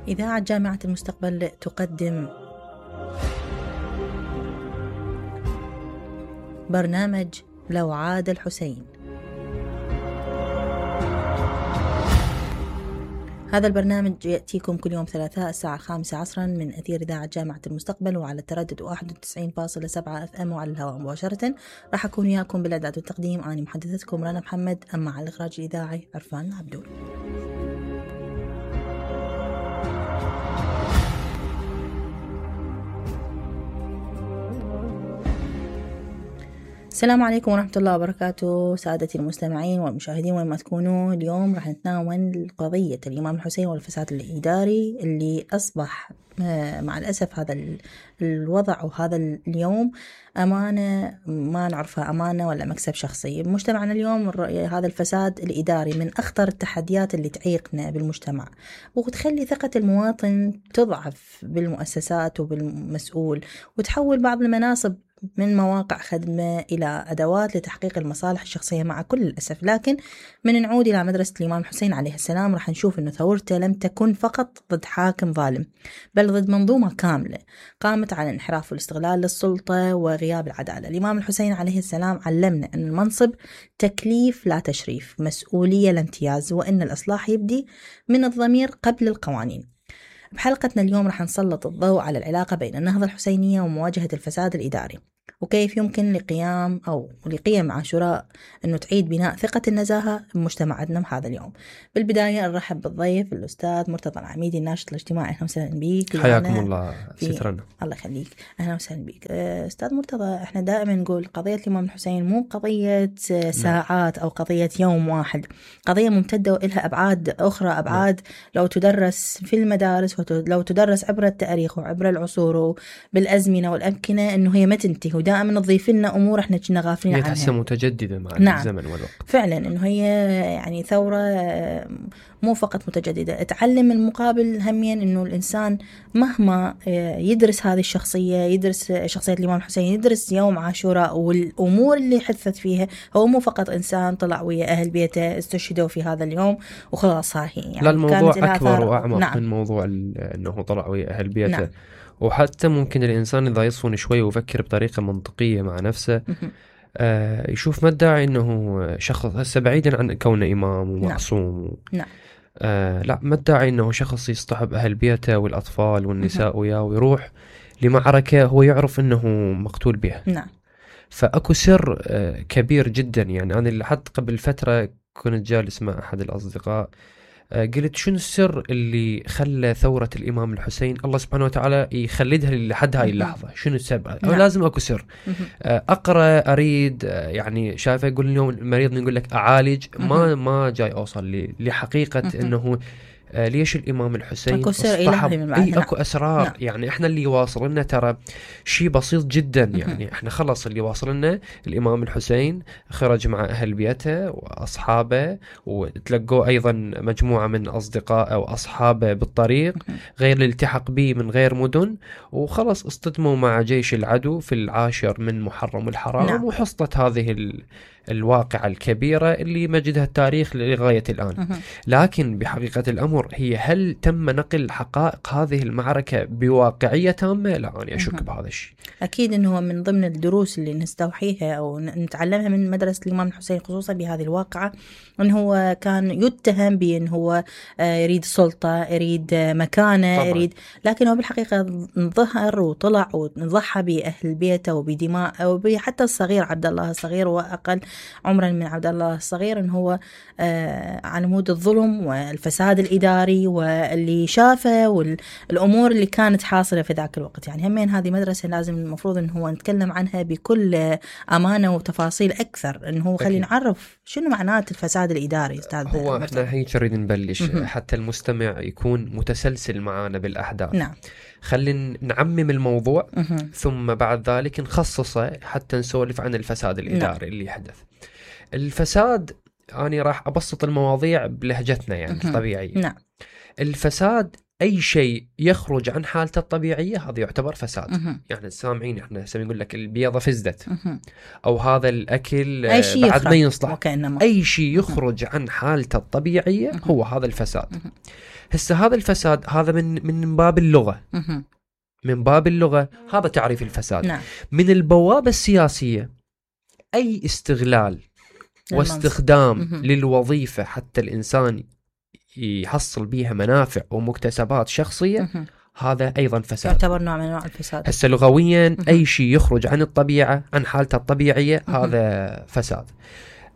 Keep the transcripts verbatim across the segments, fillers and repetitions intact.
إذاعة جامعة المستقبل تقدم برنامج لو عاد الحسين. هذا البرنامج يأتيكم كل يوم ثلاثاء الساعة الخامسة عصرا من أثير إذاعة جامعة المستقبل وعلى التردد واحد وتسعين فاصلة سبعة اف ام وعلى الهواء مباشرة. راح أكون وياكم بالإعداد والتقديم أنا محدثتكم رنا محمد، أما على الإخراج الإذاعي عرفان عبدول. السلام عليكم ورحمة الله وبركاته سادتي المستمعين والمشاهدين وين ما تكونوا. اليوم راح نتناول قضية الإمام الحسين والفساد الإداري اللي أصبح مع الأسف هذا الوضع وهذا اليوم أمانة ما نعرفها أمانة ولا مكسب شخصي. مجتمعنا اليوم هذا الفساد الإداري من أخطر التحديات اللي تعيقنا بالمجتمع وتخلي ثقة المواطن تضعف بالمؤسسات وبالمسؤول وتحول بعض المناصب من مواقع خدمة إلى أدوات لتحقيق المصالح الشخصية مع كل الأسف. لكن من نعود إلى مدرسة الإمام الحسين عليه السلام راح نشوف أنه ثورته لم تكن فقط ضد حاكم ظالم بل ضد منظومة كاملة قامت على الانحراف والاستغلال للسلطة وغياب العدالة. الإمام الحسين عليه السلام علمنا أن المنصب تكليف لا تشريف، مسؤولية لا امتياز، وأن الإصلاح يبدي من الضمير قبل القوانين. بحلقتنا اليوم رح نسلط الضوء على العلاقة بين النهضة الحسينية ومواجهة الفساد الإداري وكيف يمكن لقيام أو لقيم عاشوراء أنه تعيد بناء ثقة النزاهة بمجتمعنا هذا اليوم. بالبداية نرحب بالضيف الأستاذ مرتضى العميدي الناشط الاجتماعي. أهلا وسهلا بيك. حياكم الله سترنا. الله يخليك. أهلا وسهلا بيك أستاذ مرتضى. إحنا دائما نقول قضية الإمام الحسين مو قضية ساعات أو قضية يوم واحد، قضية ممتدة وإلها أبعاد أخرى، أبعاد لو تدرس في المدارس ولو تدرس عبر التاريخ وعبر العصور بالأزمنة والأمكنة أنه هي ما تنتهي ودائما نضيف لنا أمور إحنا كنا غافلين عنها. هي تحسها متجددة مع نعم. الزمن والوقت. فعلا أنه هي يعني ثورة مو فقط متجددة، تعلم المقابل هميا أنه الإنسان مهما يدرس هذه الشخصية، يدرس شخصية الإمام الحسين، يدرس يوم عاشوراء والأمور اللي حدثت فيها، هو مو فقط إنسان طلع ويا أهل بيته استشهدوا في هذا اليوم وخلاص هاي يعني. لا، الموضوع أكبر وأعمق. نعم. من موضوع أنه طلع ويا أهل بيته. نعم. وحتى ممكن الإنسان إذا يصفن شوي ويفكر بطريقة منطقية مع نفسه آه يشوف ما الداعي إنه شخص هسه بعيدا عن كونه إمام ومعصوم. نعم. نعم. آه لا، ما الداعي إنه شخص يصطحب أهل بيته والأطفال والنساء وياه ويروح لمعركة هو يعرف إنه مقتول بها. نعم. فأكو سر آه كبير جدا. يعني أنا اللي حتى قبل فترة كنت جالس مع أحد الأصدقاء قلت شنو السر اللي خلى ثورة الإمام الحسين الله سبحانه وتعالى يخلدها لحد هاي اللحظة؟ شنو السبب؟ نعم. لازم أكو سر. أقرأ أريد يعني شايفه يقول اليوم المريض نقول لك أعالج ما ما جاي أوصل لحقيقة إنه آه ليش الإمام الحسين أكو سر إلهي من بعد. إيه أكو أسرار. نعم. يعني إحنا اللي واصل لنا ترى شيء بسيط جدا. يعني إحنا خلص اللي واصل لنا الإمام الحسين خرج مع أهل بيته وأصحابه وتلقوا أيضا مجموعة من أصدقاء أو أصحابه بالطريق غير الالتحق به من غير مدن، وخلص اصطدموا مع جيش العدو في العاشر من محرم الحرام. نعم. وحصلت هذه ال الواقعة الكبيرة اللي مجدها التاريخ لغاية الآن. لكن بحقيقة الأمر هي هل تم نقل حقائق هذه المعركة بواقعية تامة؟ لا، أنا أشك بهذا الشيء. أكيد أنه من ضمن الدروس اللي نستوحيها أو نتعلمها من مدرسة الإمام الحسين خصوصا بهذه الواقعة أنه هو كان يتهم بأنه هو يريد سلطة، يريد مكانة، طبعا. يريد، لكن هو بالحقيقة ظهر وطلع وضحى بأهل بيته وبدماء وحتى الصغير عبد الله الصغير وأقل عمرا من عبد الله الصغير، إن هو آه على مود الظلم والفساد الإداري واللي شافه والأمور اللي كانت حاصلة في ذاك الوقت. يعني همين هذه مدرسة لازم المفروض إن هو نتكلم عنها بكل أمانة وتفاصيل أكثر، إن هو خلي نعرف شنو معنات الفساد الإداري. أستاذ هو إحنا هيك نريد نبلش حتى المستمع يكون متسلسل معنا بالأحداث. نعم. خلينا نعمم الموضوع مه. ثم بعد ذلك نخصصه حتى نسولف عن الفساد الإداري. نعم. اللي حدث الفساد. أنا راح أبسط المواضيع بلهجتنا يعني الطبيعية. نعم. الفساد اي شيء يخرج عن حالته الطبيعيه هذا يعتبر فساد. مهم. يعني سامعين احنا هسه نقول لك البيضه فزدت، مهم. او هذا الاكل أي شيء بعد ما يصلح، وكأنما. اي شيء يخرج عن حالته الطبيعيه مهم. هو هذا الفساد. مهم. هسه هذا الفساد هذا من من باب اللغه، مهم. من باب اللغه هذا تعريف الفساد. نعم. من البوابه السياسيه اي استغلال واستخدام مهم. للوظيفه حتى الانسان يحصل بيها منافع ومكتسبات شخصيه، مهم. هذا ايضا فساد، يعتبر نوع من انواع الفساد. هسه لغويا مهم. اي شيء يخرج عن الطبيعه عن حالته الطبيعيه مهم. هذا فساد.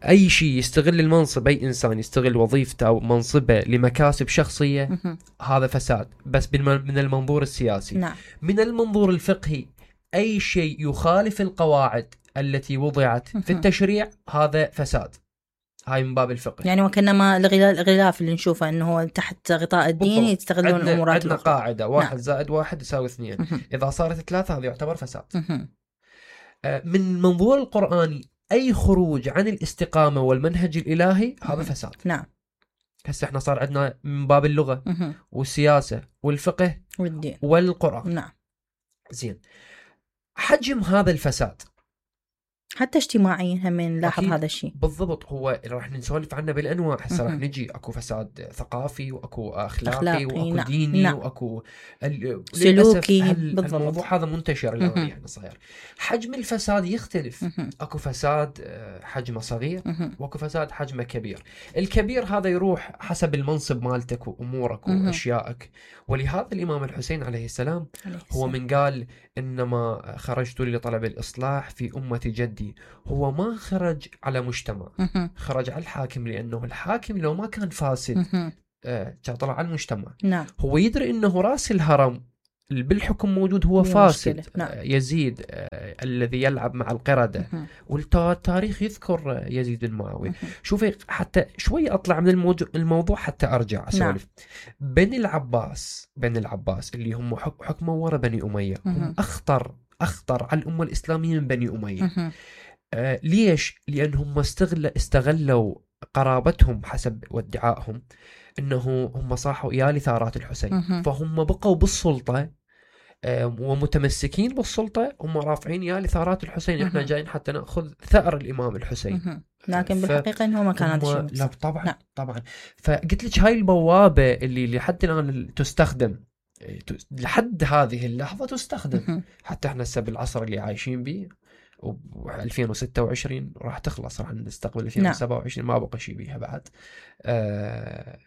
اي شيء يستغل المنصب، اي انسان يستغل وظيفته او منصبه لمكاسب شخصيه مهم. هذا فساد، بس بالم- من المنظور السياسي. نعم. من المنظور الفقهي اي شيء يخالف القواعد التي وضعت في مهم. التشريع هذا فساد. هاي من باب الفقه. يعني وكأنما الغلا- الغلاف اللي نشوفه انه هو تحت غطاء الدين بالضبط. يستغلون عندنا الامورات عندنا الاخرى. قاعده واحد نعم. زائد واحد يساوي اثنين، مهم. اذا صارت ثلاثه هذا يعتبر فساد. مهم. آه، من المنظور القرآني أي خروج عن الاستقامة والمنهج الإلهي هذا مهم. فساد. نعم. هسه احنا صار عندنا من باب اللغة مهم. والسياسة والفقه والدين. والقرآن. نعم. زين، حجم هذا الفساد حتى اجتماعيا هم نلاحظ أكيد. هذا الشيء. بالضبط، هو راح نسولف عنه بالأنواع. هسه راح مهم. نجي أكو فساد ثقافي وأكو أخلاقي, أخلاقي، وأكو نعم. ديني نعم. وأكو ال- سلوكي. للأسف هال- بالضبط. الموضوع هذا منتشر الآن مهم. يعني صاير. حجم الفساد يختلف، مهم. اكو فساد آه، حجمه صغير مهم. واكو فساد حجمه كبير. الكبير هذا يروح حسب المنصب مالتك وامورك مهم. واشيائك. ولهذا الامام الحسين عليه السلام عليه هو السلام. من قال انما خرجت لطلب الاصلاح في امه جدي. هو ما خرج على مجتمع، مهم. خرج على الحاكم، لانه الحاكم لو ما كان فاسد مهم. آه، كان طلع على المجتمع. نعم. هو يدري انه راس الهرم اللي بالحكم موجود هو هي فاسد. مشكلة. نعم. آه، يزيد آه، الذي يلعب مع القردة. مهم. والتاريخ يذكر آه، يزيد بن معاوية. مهم. شوفي حتى شوي أطلع من الموضوع, الموضوع حتى أرجع أسولف. بني العباس بني العباس اللي هم حك- حكموا ورا بني أمية، هم مهم. أخطر أخطر على الأمة الإسلامية من بني أمية. مهم. آه ليش؟ لأنهم استغل استغلوا قرابتهم حسب وادعائهم أنه هم صاحوا يالي ثارات الحسين. مهم. فهم بقوا بالسلطة آه، ومتمسكين بالسلطة، هم رافعين يا لثارات الحسين. احنا مهم. جايين حتى نأخذ ثأر الإمام الحسين. مهم. لكن ف- بالحقيقة انه ما كان هذا هم- الشيء لا مقصود. طبعا نعم. طبعا. فقلت لك هاي البوابة اللي لحد الآن تستخدم، آه، ت- لحد هذه اللحظة تستخدم. مهم. حتى احنا هسه بالعصر اللي عايشين به و2026 وستة وعشرين راح تخلص، راح نستقبل ألفين وسبعة وعشرين ما بقى شيء بيها بعد. آه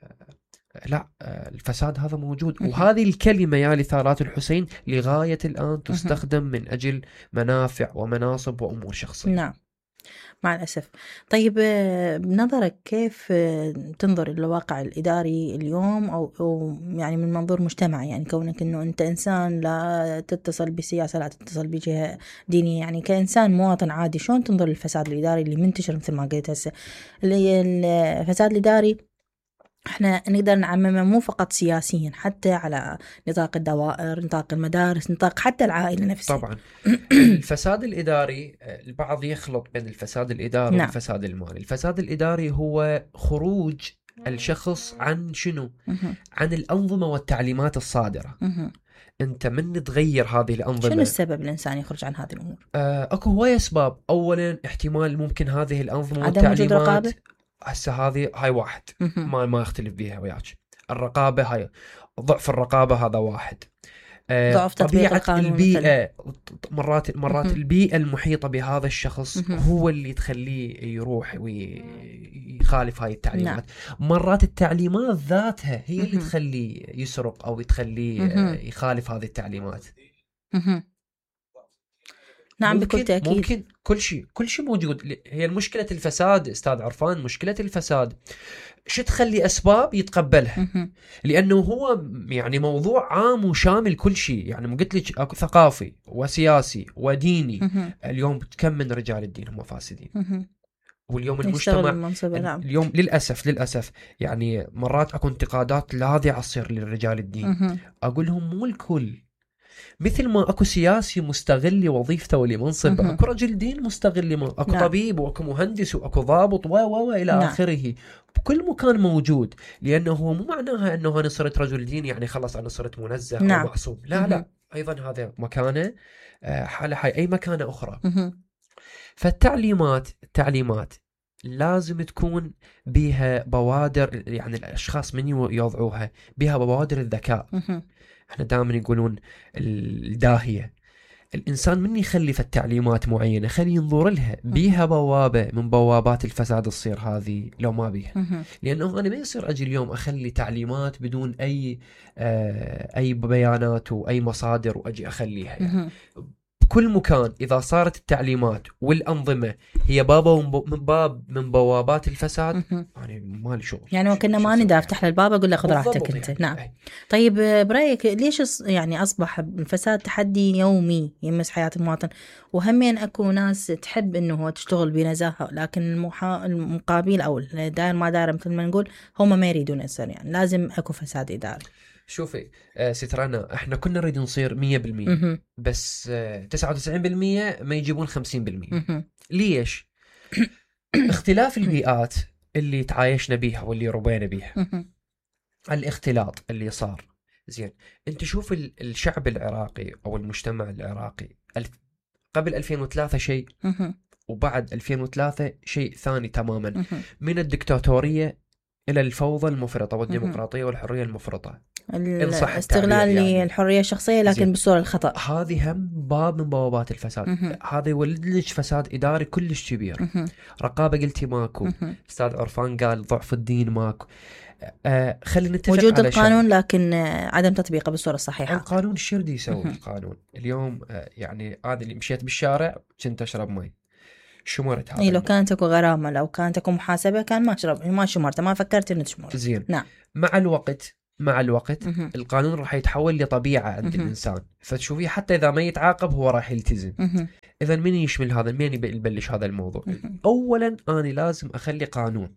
لا آه الفساد هذا موجود. مهم. وهذه الكلمة يا لثارات الحسين لغاية الآن تستخدم من أجل منافع ومناصب وأمور شخصية. نعم، مع الأسف. طيب آه، بنظرك كيف آه، تنظر إلى الواقع الإداري اليوم، أو, أو يعني من منظور مجتمعي، يعني كونك أنه أنت إنسان لا تتصل بسياسة لا تتصل بجهة دينية، يعني كإنسان مواطن عادي شلون تنظر للفساد الإداري اللي منتشر مثل ما قلت هسه؟ اللي الفساد الإداري احنا نقدر نعممه مو فقط سياسيا، حتى على نطاق الدوائر، نطاق المدارس، نطاق حتى العائلة نفسها. طبعا الفساد الإداري البعض يخلط بين الفساد الإداري نعم. والفساد المالي. الفساد الإداري هو خروج الشخص عن شنو؟ مهم. عن الأنظمة والتعليمات الصادرة. مهم. أنت من تغير هذه الأنظمة. شنو السبب الإنسان يخرج عن هذه الأمور؟ آه، اكو هواية اسباب. اولا احتمال ممكن هذه الانظمه عدم وجود والتعليمات، رقابة. هسه هذه هاي واحد مهم. ما ما اختلف بيها وياك. الرقابه هاي ضعف الرقابه هذا واحد. آه، ضعف تطبيق طبيعه القانون البيئه مرات مرات مهم. البيئه المحيطه بهذا الشخص مهم. هو اللي تخليه يروح ويخالف هاي التعليمات. مرات التعليمات ذاتها هي اللي مهم. تخليه يسرق او تخليه مهم. آه، يخالف هذه التعليمات. مهم. نعم، ممكن بكل تأكيد. ممكن كل شيء كل شيء موجود. هي المشكلة الفساد استاذ عرفان، مشكلة الفساد شو تخلي اسباب يتقبلها، مهم. لانه هو يعني موضوع عام وشامل كل شيء. يعني ما قلت لك اكو ثقافي وسياسي وديني. مهم. اليوم كم من رجال الدين هم فاسدين، مهم. واليوم يشتغل المجتمع المنصب. نعم. اليوم للاسف للاسف يعني مرات اكو انتقادات لاذعه تصير للرجال الدين. مهم. اقول لهم مو الكل، مثل ما اكو سياسي مستغل وظيفته ولمنصبه، مهم. اكو رجل دين مستغل م... اكو نعم. طبيب واكو مهندس واكو ضابط و و و الى نعم. اخره، بكل مكان موجود. لانه هو مو معناها انه انا صرت رجل دين يعني خلص انا صرت منزه نعم. او معصوم، لا مهم. لا، ايضا هذا مكانه آه، حاله حي اي مكانه اخرى. مهم. فالتعليمات التعليمات لازم تكون بها بوادر، يعني الاشخاص من يوضعوها بها بوادر الذكاء. مهم. احنا دائما يقولون الداهية، الإنسان من يخلي في التعليمات معينة خلي ينظر لها بيها بوابة من بوابات الفساد تصير هذه لو ما بيها. مهم. لأنه أنا ما يصير أجي اليوم أخلي تعليمات بدون أي آه أي بيانات وأي مصادر وأجي أخليها يعني. مهم. بكل مكان إذا صارت التعليمات والأنظمة هي بابا من باب من بوابات الفساد، مهم. يعني مالي شغل. يعني وكنا ما ندى افتح للباب اقول له خذ راحتك انت. يعني. نعم. أي. طيب برايك ليش أص- يعني اصبح الفساد تحدي يومي يمس حياه المواطن، وهمين اكو ناس تحب انه تشتغل بنزاهه، لكن المحا... المقابل او داير ما داير مثل ما نقول هم ما يريدون يصير، يعني لازم اكو فساد اداري. شوفي آه سترانا، احنا كنا نريد نصير مية بالمية مهم. بس آه تسعة وتسعين بالمية ما يجيبون خمسين بالمية. مهم. ليش؟ اختلاف البيئات اللي تعايشنا بيها واللي ربينا بيها، مهم. الاختلاط اللي صار. زين، انت شوف ال- الشعب العراقي او المجتمع العراقي الف... قبل ألفين وثلاثة شيء، مهم. وبعد ألفين وثلاثة شيء ثاني تماما. مهم. من الدكتاتورية الى الفوضى المفرطة والديمقراطية والحرية المفرطة، إن صح الاستغلال التعبير يعني. للحرية الشخصية لكن زين. بالصورة الخطأ. هذه هم باب من بوابات الفساد. مهم. هذا يولد لك فساد إداري كلش كبير. مهم. رقابة قلتي ماكو. مهم. أستاذ عرفان قال ضعف الدين ماكو. آه خلينا نتفق وجود على القانون شيء. لكن عدم تطبيقه بالصورة الصحيحة. القانون الشردي يسوي مهم. القانون اليوم. آه يعني هذا اللي مشيت بالشارع كنت أشرب مي، شمرت هذا اي لو الماء. كانت اكو غرامة، لو كانت اكو محاسبة كان ما شرب ما شمرت، ما فكرت انه تشمر. زين. نعم. مع الوقت مع الوقت مهم. القانون راح يتحول لطبيعة عند مهم. الإنسان، فتشوفيه حتى إذا ما يتعاقب هو راح يلتزم. مهم. إذا من يشمل هذا؟ من يبلش هذا الموضوع؟ مهم. أولا أنا لازم أخلي قانون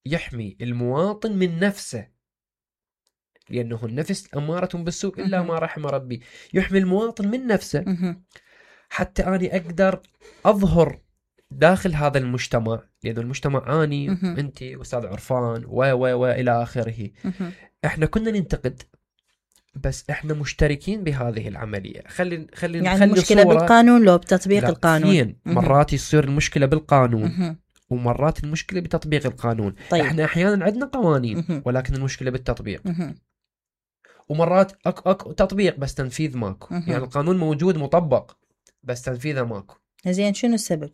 يحمي المواطن من نفسه، لأنه النفس أمارة بالسوء إلا مهم. ما رحم ربي. يحمي المواطن من نفسه مهم. حتى أنا أقدر أظهر داخل هذا المجتمع، لأنه المجتمع أني مهم. أنت أستاذ عرفان و و و إلى آخره. مهم. إحنا كنا ننتقد بس إحنا مشتركين بهذه العملية. خلي خلي يعني نخلي المشكلة صورة- بالقانون لو بتطبيق لا، القانون. اثنين. مهم. مرات يصير المشكلة بالقانون مهم. ومرات المشكلة بتطبيق القانون. طيب. احنا احيانا عندنا قوانين مهم. ولكن المشكلة بالتطبيق، مهم. ومرات اكو اكو تطبيق بس تنفيذ ماكو. مهم. يعني القانون موجود مطبق بس تنفيذه ماكو. زين شنو السبب؟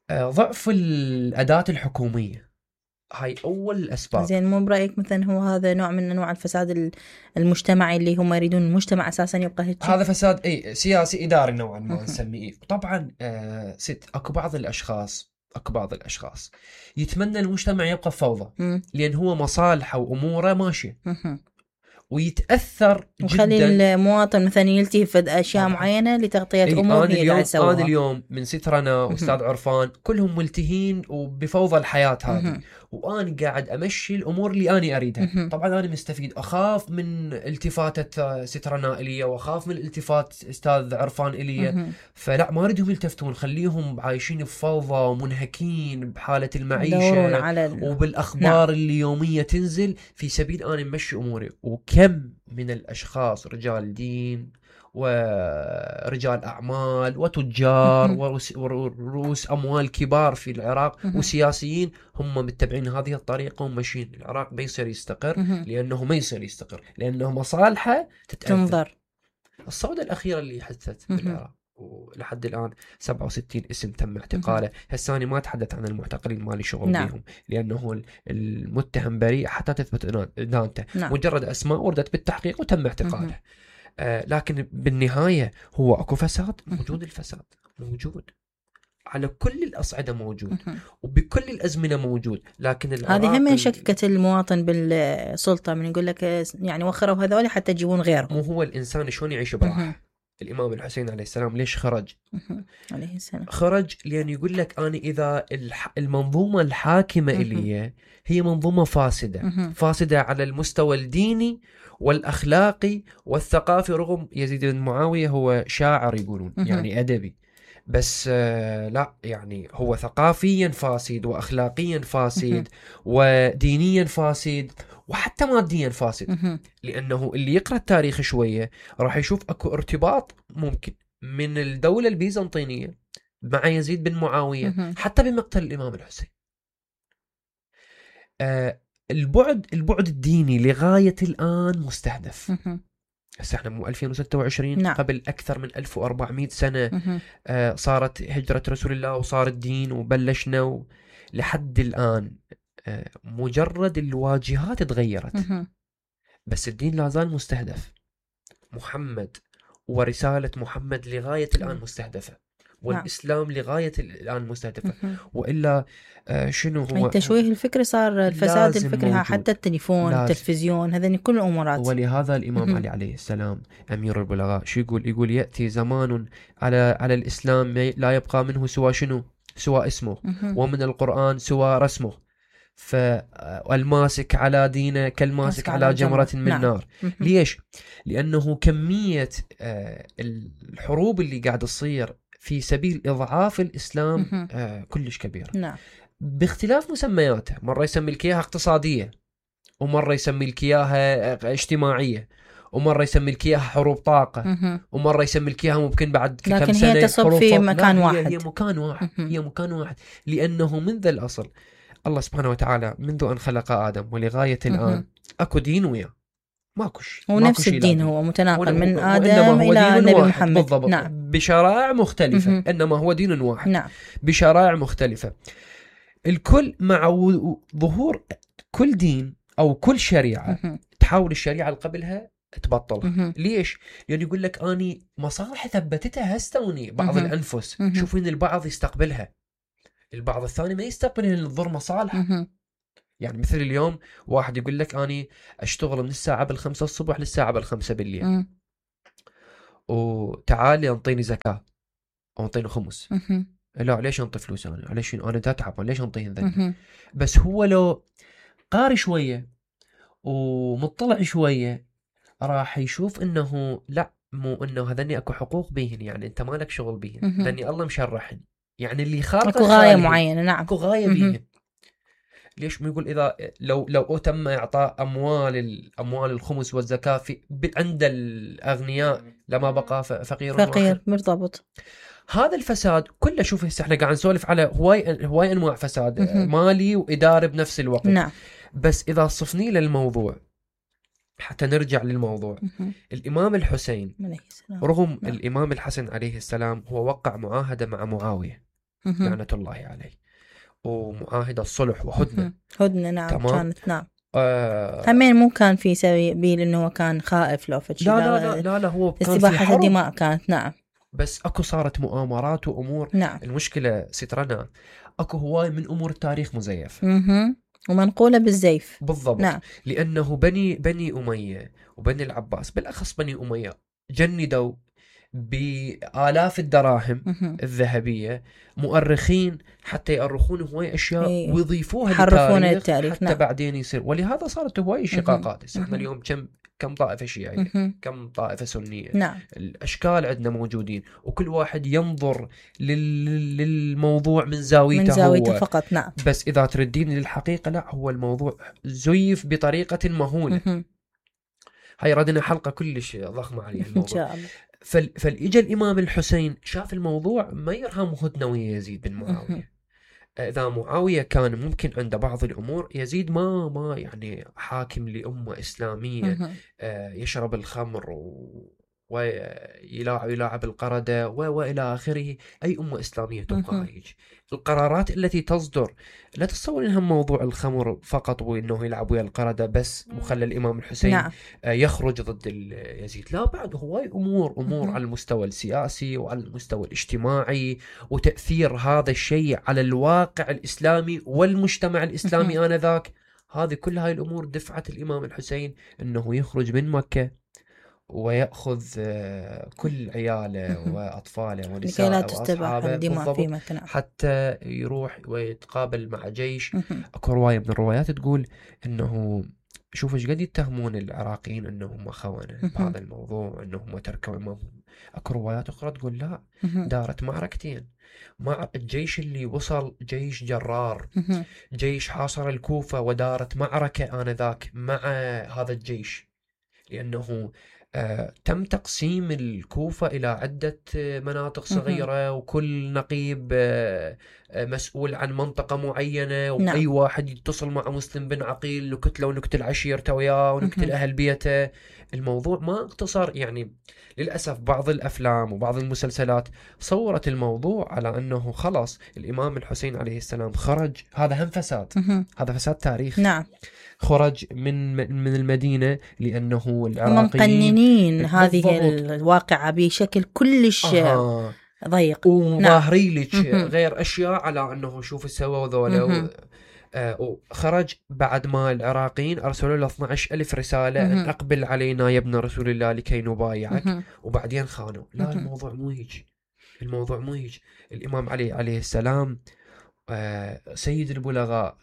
آه ضعف الأداة الحكومية، هاي أول الأسباب. زين مو برأيك مثلا هو هذا نوع من أنواع الفساد المجتمعي اللي هم يريدون المجتمع أساسا يبقى هيك؟ هذا فساد اي سياسي إداري نوعا ما نسميه. طبعا آه ست اكو بعض الأشخاص اكو بعض الأشخاص يتمنى المجتمع يبقى فوضى، مم. لأن هو مصالحه وأموره ماشية مهم. ويتأثر وخلي جدا. المواطن مثلا يلتهي بأشياء طبعاً. معينة لتغطية إيه، أمور أنا هي اليوم قاعد أنا يسويها. اليوم من سترنا وأستاذ عرفان كلهم ملتهين وبفوضى الحياة هذه، مهم. وأنا قاعد أمشي الأمور اللي أنا أريدها. مهم. طبعا أنا مستفيد، أخاف من التفاتة سترنا إلي وأخاف من التفات أستاذ عرفان إلي. مهم. فلا، ما أريدهم يلتفتون، خليهم عايشين بفوضى ومنهكين بحالة يدورون المعيشة على ال... وبالأخبار اللي يومية تنزل في سبيل أنا مشي أموري. وكم من الأشخاص رجال دين ورجال أعمال وتجار مهم. ورؤوس ورؤوس أموال كبار في العراق مهم. وسياسيين هم متبعين هذه الطريقة وماشيين. العراق ما يصير يستقر مهم. لأنه ما يصير يستقر لأنه مصالحه تتأثر. تنظر. الصعودة الأخيرة اللي حدثت مهم. بالعراق ولحد الآن سبعة وستين اسم تم اعتقاله. هساني ما أتحدث عن المعتقلين، مالي شغل نعم. بيهم، لأنه المتهم بريء حتى تثبت إدانته. نعم. مجرد أسماء وردت بالتحقيق وتم اعتقاله. آه لكن بالنهاية هو أكو فساد موجود. الفساد موجود على كل الأصعدة موجود مهم. وبكل الأزمنة موجود. لكن هذه هم ال- شككة المواطن بالسلطة، من يقول لك يعني وخروا هذول حتى يجيبون غيرهم. مو هو الإنسان شلون يعيش براحة. مهم. الإمام الحسين عليه السلام ليش خرج؟ عليه السلام خرج لأن يقول لك أنا إذا المنظومة الحاكمة إلي هي منظومة فاسدة فاسدة على المستوى الديني والأخلاقي والثقافي، رغم يزيد بن معاوية هو شاعر يقولون يعني أدبي، بس آه لا يعني هو ثقافيا فاسد وأخلاقيا فاسد ودينيا فاسد وحتى ماديا فاسد. لأنه اللي يقرأ التاريخ شوية راح يشوف أكو ارتباط ممكن من الدولة البيزنطينية مع يزيد بن معاوية حتى بمقتل الإمام الحسين. آه البعد البعد الديني لغاية الآن مستهدف. هسه احنا مو ألفين وستة وعشرين، نعم. قبل أكثر من ألف وأربعمائة سنة آه صارت هجرة رسول الله وصار الدين وبلشنا و... لحد الآن آه مجرد الواجهات تغيرت بس الدين لا زال مستهدف. محمد ورسالة محمد لغاية الآن مستهدفة، والإسلام لغاية الآن مستهدفة. وإلا آه شنو هو تشويه الفكر، صار الفساد الفكري، حتى التليفون التلفزيون هذين كل الأمورات. ولهذا الإمام علي عليه السلام أمير البلغاء شو يقول؟ يقول يأتي زمان على على الإسلام لا يبقى منه سوى شنو؟ سوى اسمه، ومن القرآن سوى رسمه، فالماسك على دينه كالماسك على جمرة من نعم. نار. ليش؟ لأنه كمية آه الحروب اللي قاعد تصير في سبيل إضعاف الإسلام آه كلش كبيرة، نعم. باختلاف مسمياته، مرة يسمي لك إياها اقتصادية، ومرة يسمي لك إياها اجتماعية، ومرة يسمي لك إياها حروب طاقة، ومرة يسمي لك إياها ممكن بعد كم لكن سنة هي تصب في مكان هي واحد. هي مكان واحد هي مكان واحد لأنه منذ الأصل الله سبحانه وتعالى منذ أن خلق آدم ولغاية الآن أكو دين وياه، ماكوش هو نفس الدين، هو متناقل من آدم إلى نبي محمد، بالضبط. نعم. بشرائع مختلفة مه. إنما هو دين واحد، نعم. بشرائع مختلفة. الكل مع ظهور كل دين أو كل شريعة مه. تحاول الشريعة اللي قبلها تبطلها. ليش؟ لأن يعني يقول لك أني مصالح ثبتتها هستوني بعض مه. الأنفس مه. شوفين البعض يستقبلها، البعض الثاني ما يستقبل الضر مصالحه. يعني مثل اليوم واحد يقول لك أني أشتغل من الساعة بالخمسة الصبح للساعة بالخمسة بالليل، م. وتعالي أنطيني زكاة أو أنطيني خمس. م. لا ليش أنطي فلوس أنا؟ ليش أنا أتعب؟ ليش أنطيه ذنب؟ بس هو لو قاري شوية ومطلع شوية راح يشوف إنه لا، مو إنه هذني أكو حقوق بيهن، يعني أنت مالك شغل بيهن، هذني الله مشرحني، يعني اللي خالق أكو غاية معينة، نعم. أكو غاية بيهن. ليش ما يقول إذا لو لو تم إعطاء أموال الأموال الخمس والزكاة في عند الأغنياء لما بقى فقير فقير مرتبط. هذا الفساد كله، شوف هسه احنا قاعد نسولف على هواي هواي أنواع فساد م- مالي وإداري بنفس الوقت، نعم. بس إذا صفني للموضوع حتى نرجع للموضوع م- الإمام الحسين رغم نعم. الإمام الحسن عليه السلام هو وقع معاهدة مع معاوية م- لعنة الله عليه، ومعاهدة الصلح وهدنة هدنة نعم تمام؟ كانت نعم آه همين مو كان في سبيل انه هو كان خائف لو فتشي، لا لا لا لا, لا هو كان في استباحة الدماء كانت، نعم. بس اكو صارت مؤامرات وامور، نعم. المشكلة سترنا اكو هواي من امور التاريخ مزيف اها ومنقولة بالزيف بالضبط، نعم. لانه بني بني امية وبني العباس بالاخص بني امية جندوا بآلاف الدراهم مه. الذهبية مؤرخين حتى يؤرخون هواي أشياء إيه. ويضيفوها يحرفون للتاريخ التاريخ حتى نعم. بعدين يصير، ولهذا صارت هواي شقاقات. احنا اليوم كم كم طائفة شيعية مه. كم طائفة سنية، نعم. الأشكال عندنا موجودين وكل واحد ينظر لل... للموضوع من زاويته من زاويته هو فقط، نعم. بس إذا تردين للحقيقة لا، هو الموضوع زيف بطريقة مهولة. مه. هاي ردنا حلقة كلش ضخمة عليها الموضوع إن شاء الله. فال... فالإجا الإمام الحسين شاف الموضوع ما يرهم هدنة ويا يزيد بن معاوية. إذا معاوية كان ممكن عنده بعض الأمور، يزيد ما ما يعني حاكم لأمة إسلامية يشرب الخمر و... ويلاعب يلاعب القردة وإلى آخره، أي أمة إسلامية تبقى هيك. القرارات التي تصدر لا تتصور إنها موضوع الخمر فقط وإنه يلعب ويا القردة بس وخلى الإمام الحسين نعم. يخرج ضد يزيد، لا، بعد هواي أمور أمور على المستوى السياسي وعلى المستوى الاجتماعي وتأثير هذا الشيء على الواقع الإسلامي والمجتمع الإسلامي آنذاك. هذه كل هاي الأمور دفعت الإمام الحسين إنه يخرج من مكة ويأخذ كل عياله وأطفاله لكي ونساءه لا تستباح وأصحابه الدماء في بالضبط مكان. حتى يروح ويتقابل مع جيش. مهم. أكو رواية من الروايات تقول إنه شوف ايش قد يتهمون العراقيين انهم خونة مهم. بهذا الموضوع، انهم تركوا امامهم. اكو روايات اخرى تقول لا، مهم. دارت معركتين مع الجيش اللي وصل، جيش جرار، مهم. جيش حاصر الكوفة، ودارت معركة آنذاك مع هذا الجيش، لأنه آه تم تقسيم الكوفة إلى عدة مناطق مهم. صغيرة، وكل نقيب آه آه مسؤول عن منطقة معينة، وأي نعم. واحد يتصل مع مسلم بن عقيل نكتله ونكتل عشيرته وياه ونكتل مهم. أهل بيته. الموضوع ما اقتصر، يعني للأسف بعض الأفلام وبعض المسلسلات صورت الموضوع على أنه خلاص الإمام الحسين عليه السلام خرج، هذا هم فساد، مهم. هذا فساد تاريخي. نعم. خرج من من المدينة لأنه هم العراقيين مقننين هذه بالضبط الواقعة بشكل كلش أها ضيق. نعم. وظاهري لك مهم. غير أشياء على أنه شوف سووا ذولا. مهم. آه وخرج بعد ما العراقيين أرسلوا له اثني عشر ألف رسالة أن مهم. أقبل علينا يا ابن رسول الله لكي نبايعك، مهم. وبعدين خانوا. لا، مهم. الموضوع مو هيك، الموضوع مو هيك. الإمام علي عليه السلام آه سيد البلغاء،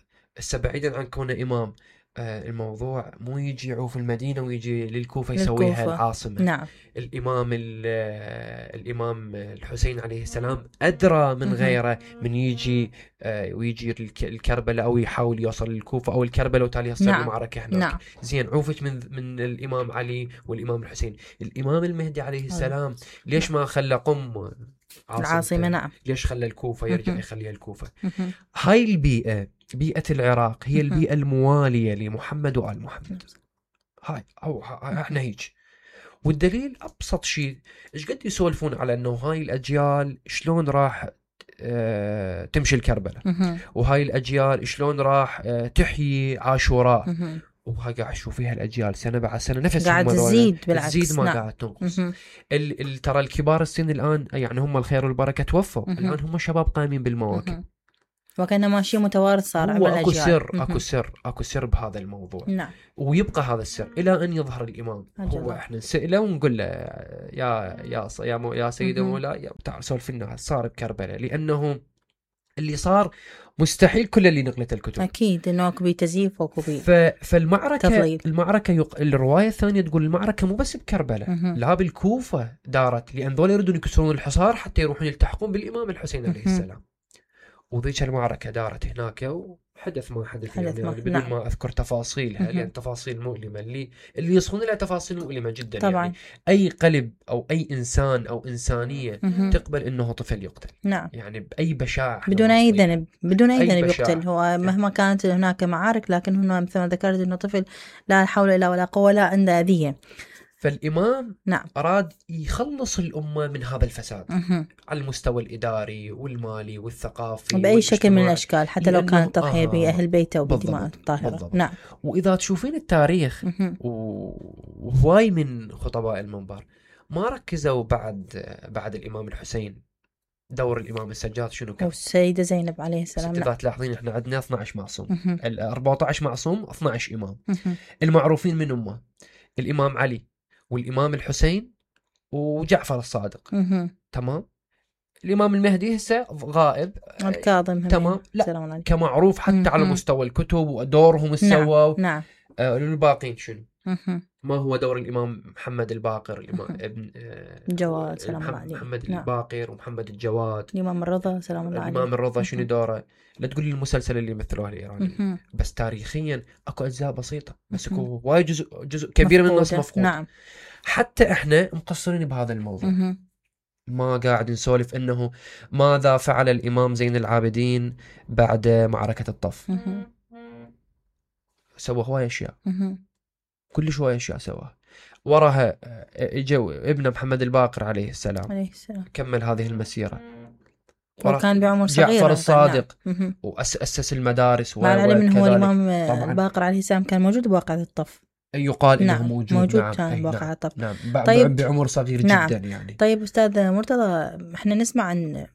بعيدا عن كونه إمام، آه الموضوع مو يجي يعوف المدينة ويجي للكوفة يسويها للكوفة. العاصمة. نعم. الإمام آه الإمام الحسين عليه السلام أدرى من مهم. غيره من يجي آه ويجي الك- الكربلاء أو يحاول يوصل للكوفة أو الكربلاء وتالي يصير نعم. المعركة هناك. نعم. زين، عوفت من من الإمام علي والإمام الحسين. الإمام المهدي عليه السلام ليش ما خلى قم العاصمة. عاصمته؟ نعم. ليش خلى الكوفة يرجع مهم. يخليها الكوفة؟ مهم. هاي البيئة، بيئة العراق، هي مهم. البيئة الموالية لمحمد وآل محمد. هاي أو ها- احنا هيك. والدليل أبسط شيء، إيش قد يسولفون على إنه هاي الأجيال شلون راح آه تمشي الكربلاء، مهم. وهاي الأجيال شلون راح آه تحيي عاشوراء، مهم. وهاي قاعد أشوف فيها الأجيال سنة بعد سنة نفس قاعد هم ذولا، تزيد بالعكس. تزيد ما نعم. قاعد تنقص. مهم. ال ال ترى الكبار السن الآن يعني هم الخير والبركة توفوا، مهم. الآن هم شباب قايمين بالمواكب. مهم. وكان ماشي متوارث صار هو عبر اكو الأجيال. سر، مهم. اكو سر اكو سر بهذا الموضوع، نعم. ويبقى هذا السر الى ان يظهر الامام. أجل هو الله. احنا نساله ونقول له يا يا ص- يا مو يا سيدي مهم. مولاي، يا تعال سولف لنا صار بكربلاء، لانه اللي صار مستحيل كل اللي نقلته الكتب. أكيد إنه أكو بي تزييف وأكو بي ف... فالمعركه تضليل. المعركه يق... الروايه الثانيه تقول المعركه مو بس بكربلاء، مهم. لا بالكوفه دارت، لان ذول يريدون يكسرون الحصار حتى يروحون يلتحقون بالامام الحسين عليه مهم. السلام. وذيك المعركة دارت هناك وحدث ما حدث، حدث يعني, ما- يعني بدون نعم. ما أذكر تفاصيلها، مهم. لأن تفاصيل مؤلمة، اللي اللي يصون لها تفاصيل مؤلمة جدا. طبعا. يعني أي قلب أو أي إنسان أو إنسانية مهم. تقبل إنه طفل يقتل، نعم. يعني بأي بشاعة إحنا بدون أي واصلين. ذنب، بدون أي أي ذنب بشاعة. يقتل. هو مهما كانت هناك معارك، لكن هنا مثل ما ذكرت إنه طفل لا حول إلا ولا قوة لا عنده أذية. فالإمام نعم. أراد يخلص الأمة من هذا الفساد مهم. على المستوى الإداري والمالي والثقافي بأي شكل من والاجتماعي. الأشكال، حتى لو لأنه- كانت تضحية آه، بأهل بيته وبدماء بالضبط، الطاهرة. بالضبط. نعم. وإذا تشوفين التاريخ مهم. و- وهواي من خطباء المنبر ما ركزوا بعد بعد الإمام الحسين دور الإمام السجاد شنو كان. والسيدة زينب عليه السلام. إذا نعم. تلاحظين إحنا عندنا اثني عشر معصوم، مهم. ال أربعة عشر معصوم، اثني عشر إمام. مهم. المعروفين من أمه الإمام علي والإمام الحسين وجعفر الصادق. مهم. تمام. الإمام المهدي هسه غائب. الكاظم هم. تمام. لا، سلام عليكم. كمعروف حتى على مهم. مستوى الكتب ودورهم سووا. نعم. آه الباقين شنو؟ مهم. ما هو دور الإمام محمد الباقر، الإمام مهم. ابن آه الجواد سلام الله محمد, عليه. محمد نعم. الباقر ومحمد الجواد. الإمام الرضا سلام الله عليه. الإمام الرضا شنو مهم. دوره؟ لا تقول لي المسلسل اللي مثلوه الإيراني، مهم. بس تاريخيا اكو أجزاء بسيطة، بس مهم. اكو وايد جزء جزء كبير من الناس مفقودة. مفقود. نعم. حتى احنا مقصرين بهذا الموضوع. مهم. ما قاعد نسولف انه ماذا فعل الامام زين العابدين بعد معركة الطف. مهم. سوى هواي اشياء، مهم. كل شوية اشياء سواها. وراها اجوا ابن محمد الباقر عليه السلام عليه السلام. كمل هذه المسيرة. وكان بعمر صغير. جعفر الصادق نعم. وأسس المدارس. مع العلم انه هو وكذلك الامام طبعاً. الباقر عليه السلام كان موجود بواقعة الطف. يقال انه نعم. موجود. موجود نعم. كان أي بواقعة نعم. الطف. نعم. ب- طيب. بعمر صغير نعم. جدا يعني. طيب أستاذ مرتضى، احنا نسمع عن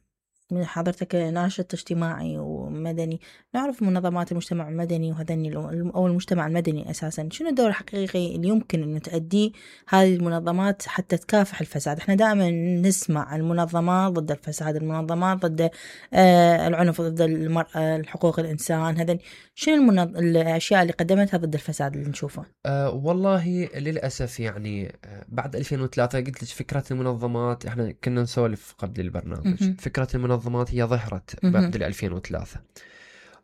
من حضرتك ناشط اجتماعي ومدني، نعرف منظمات المجتمع المدني وهذني أو المجتمع المدني أساسا، شنو الدور الحقيقي اللي يمكن أن تؤديه هذه المنظمات حتى تكافح الفساد؟ احنا دائما نسمع المنظمات ضد الفساد، المنظمات ضد آه العنف، ضد المرأة، حقوق الإنسان، هذا شنو المنظ... الأشياء اللي قدمتها ضد الفساد اللي نشوفه؟ أه والله للأسف يعني بعد ألفين وثلاثة قلت لك فكرة المنظمات، احنا كنا نسولف قبل البرنامج، مهم. فكرة المنظمات هي ظهرت مهم. بعد ألفين وثلاثة،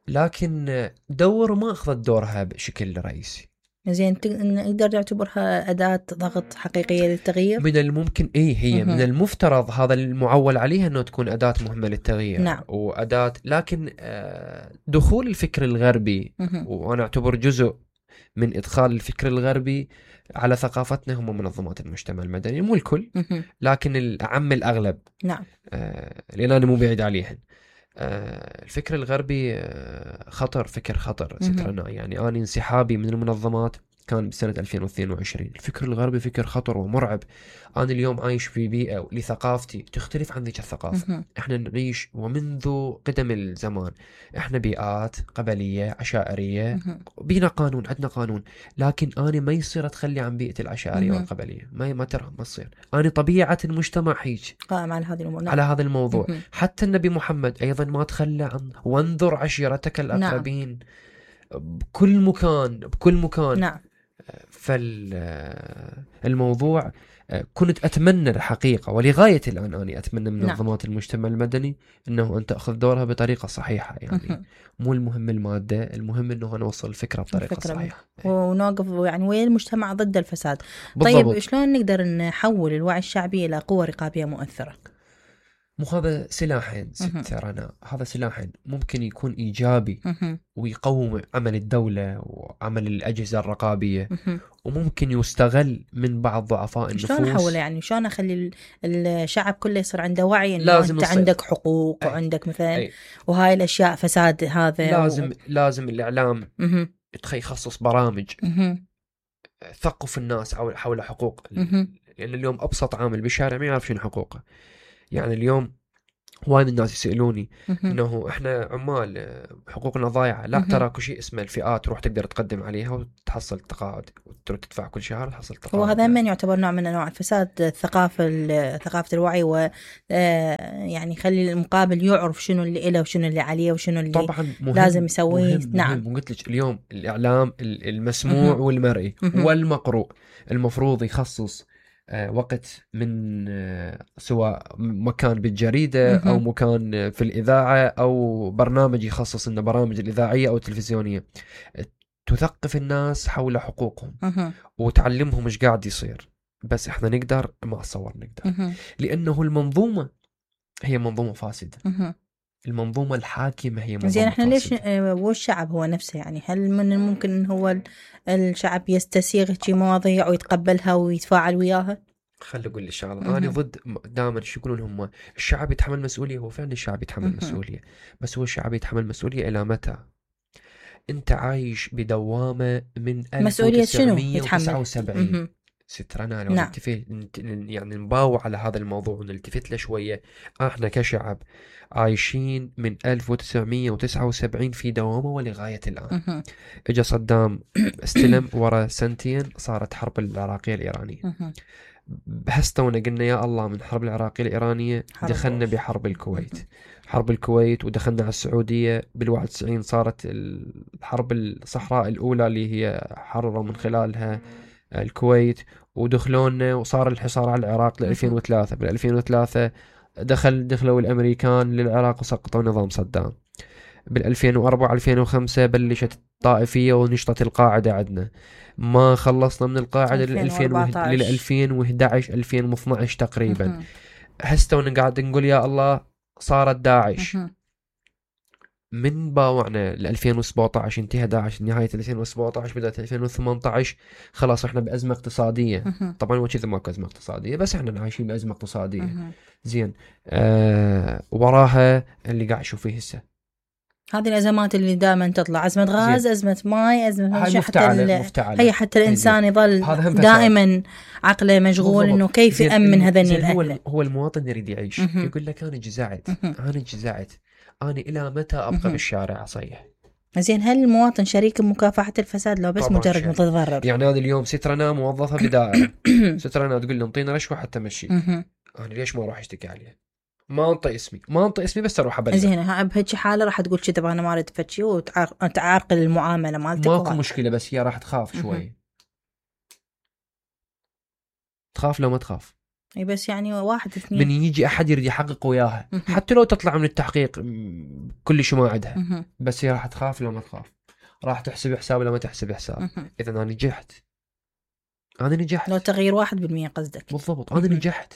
لكن دور ما أخذت دورها بشكل رئيسي. زين، تق- نقدر نعتبرها أداة ضغط حقيقية للتغيير؟ من الممكن ايه هي مهم. من المفترض هذا المعول عليها انه تكون أداة مهمة للتغيير. نعم. وأداة، لكن آه، دخول الفكر الغربي، مهم. وانا اعتبر جزء من ادخال الفكر الغربي على ثقافتنا هم منظمات المجتمع المدني، مو الكل مهم. لكن الأعم الأغلب، نعم. آه، لأن أنا مو بعيد عليهن. آه، الفكر الغربي آه، خطر، فكر خطر مهم. سترنا. يعني أنا انسحابي من المنظمات كان بسنة ألفين واثنين وعشرين. الفكر الغربي فكر خطر ومرعب. أنا اليوم عايش في بيئة لثقافتي تختلف عن ذيك الثقافة. مهم. إحنا نعيش ومنذ قدم الزمان، إحنا بيئات قبلية عشائرية، مهم. بينا قانون، عندنا قانون، لكن أنا ما يصير أتخلي عن بيئة العشائرية مهم. والقبلية، ما ما ترى ما تصير. أنا طبيعة المجتمع هيك قائم على هذه الأمور. نعم. على هذا الموضوع. مهم. حتى النبي محمد أيضا ما تخلى عن وانظر عشيرتك الأقربين. بكل مكان بكل مكان. نعم. فالموضوع كنت أتمنى الحقيقة ولغاية الآن أنا أتمنى من نعم. منظمات المجتمع المدني أنه أن تأخذ دورها بطريقة صحيحة. يعني مهم. مو المهم المادة، المهم أنه نوصل الفكرة بطريقة الفكرة صحيحة. ونوقف يعني وين المجتمع ضد الفساد. بالضبط. طيب شلون نقدر نحول الوعي الشعبي إلى قوة رقابية مؤثرة؟ مو هذا سلاحين مهم. ست رنا، هذا سلاحين ممكن يكون إيجابي مهم. ويقوم عمل الدولة وعمل الأجهزة الرقابية، مهم. وممكن يستغل من بعض ضعفاء النفوس. شلون احوله يعني؟ شلون اخلي ال- الشعب كله يصير عنده وعي انه لازم انت يصير. عندك حقوق أي. وعندك مثلا أي. وهاي الاشياء فساد هذا لازم و... لازم الإعلام مهم. يتخ- يخصص برامج مهم. ثقف الناس حول حول حقوق. مهم. لأن اليوم أبسط عامل بالشارع ما يعرف شنو حقوقه. يعني اليوم وايد الناس يسألوني مهم. انه احنا عمال آه، حقوقنا ضايعه. لا، مهم. ترى كل شيء اسمه الفئات، تروح تقدر تقدم عليها وتحصل تقاعد، وتروح تدفع كل شهر وتحصل تقاعد. وهذا من يعتبر نوع من انواع الفساد، الثقافه ال- ثقافه الوعي، و آه، يعني يخلي المقابل يعرف شنو اللي له وشنو اللي عليه وشنو اللي طبعا مهم، لازم يسويه. مهم نعم. مهم. وقلت لك اليوم الاعلام ال- المسموع مهم. والمرئي مهم. والمقروء المفروض يخصص آه، وقت من آه، سواء مكان بالجريدة أو مهم. مكان آه، في الإذاعة، أو برنامج يخصص إنه برامج الإذاعية أو التلفزيونية آه، تثقف الناس حول حقوقهم مهم. وتعلمهم إيش قاعد يصير. بس إحنا نقدر؟ ما أتصور نقدر، مهم. لأنه المنظومة هي منظومة فاسدة. مهم. المنظومة الحاكمة هي منظومة زين، احنا ليش فاسدة. آه، والشعب هو نفسه يعني هل من الممكن ان هو ال- الشعب يستسيغ شي مواضيع ويتقبلها ويتفاعل وياها؟ خلي أقول لك شغلة، مهم. أنا ضد دائما شو يقولون هم الشعب يتحمل مسؤولية. هو فعلا الشعب يتحمل مهم. مسؤولية، بس هو الشعب يتحمل مسؤولية إلى متى؟ أنت عايش بدوامة من مسؤولية شنو ألف وتسعمية وتسعة وسبعين. يتحمل؟ سترنا لو نعم. نلتفت نت- يعني نباوع على هذا الموضوع ونلتفت له شوية. احنا كشعب عايشين من ألف وتسعمية وتسعة وسبعين في دوامة ولغاية الآن. مهم. اجا صدام استلم، ورا سنتين صارت حرب العراقية الإيرانية. مهم. هستونا قلنا يا الله من حرب العراقية الإيرانية حرب دخلنا أوف. بحرب الكويت. حرب الكويت ودخلنا على السعودية بالواحد وتسعين، صارت الحرب الصحراء الأولى اللي هي حرروا من خلالها الكويت، ودخلونا وصار الحصار على العراق ل ألفين وثلاثة. بال ألفين وثلاثة دخل دخلوا الأمريكان للعراق وسقطوا نظام صدام. بال ألفين وأربعة ألفين وخمسة بلشت الطائفية ونشطت القاعدة عندنا. ما خلصنا من القاعدة لل ألفين وأربعة عشر. ألفين وإحدى عشر ألفين واثناشر تقريبا. مهم. هسه قاعد نقول يا الله صارت داعش. مهم. من باوعنا ل ألفين وسبعة عشر انتهى داعش، نهاية ألفين وسبعة عشر بدأت ألفين وثمانية عشر. خلاص احنا بأزمة اقتصادية. مهم. طبعا هو كذا ماكو أزمة اقتصادية، بس احنا عايشين بأزمة اقتصادية. مهم. زين، آه وراها اللي قاعد نشوف فيه هسه هذه الأزمات اللي دائما تطلع، أزمة غاز، أزمة ماء، أزمة هاي مفتعلة مفتعلة. هي حتى الإنسان يظل دائما عقله مشغول إنه كيف يأمن هذين الأهل. هو هو المواطن يريد يعيش، يقول لك أنا جزعت أنا جزعت أنا إلى متى أبقى بالشارع أصيح؟ زين، هل المواطن شريك بمكافحة الفساد لو بس مجرد متضرر؟ يعني هذا اليوم سترنا موظفة بدائرة سترنا تقول لي انطينا رشوة حتى مشي، أنا ليش ما أروح أشتكي عليها؟ ما انطي اسمي ما انطي اسمي بس اروح ابلغ. زين، ها بهيك حاله راح تقول كذا انا ما اريد فتشي وتعرقل المعامله مالتك. ماكو مشكله، بس هي راح تخاف شوي. تخاف لو ما تخاف. اي بس يعني واحد اثنين من يجي احد يريد يحقق وياها حتى لو تطلع من التحقيق كل شيء ما عندها، بس هي راح تخاف لو ما تخاف، راح تحسب حساب لو ما تحسب حساب. اذا انا نجحت انا نجحت لو تغيير واحد بالمية قصدك. بالضبط، انا نجحت.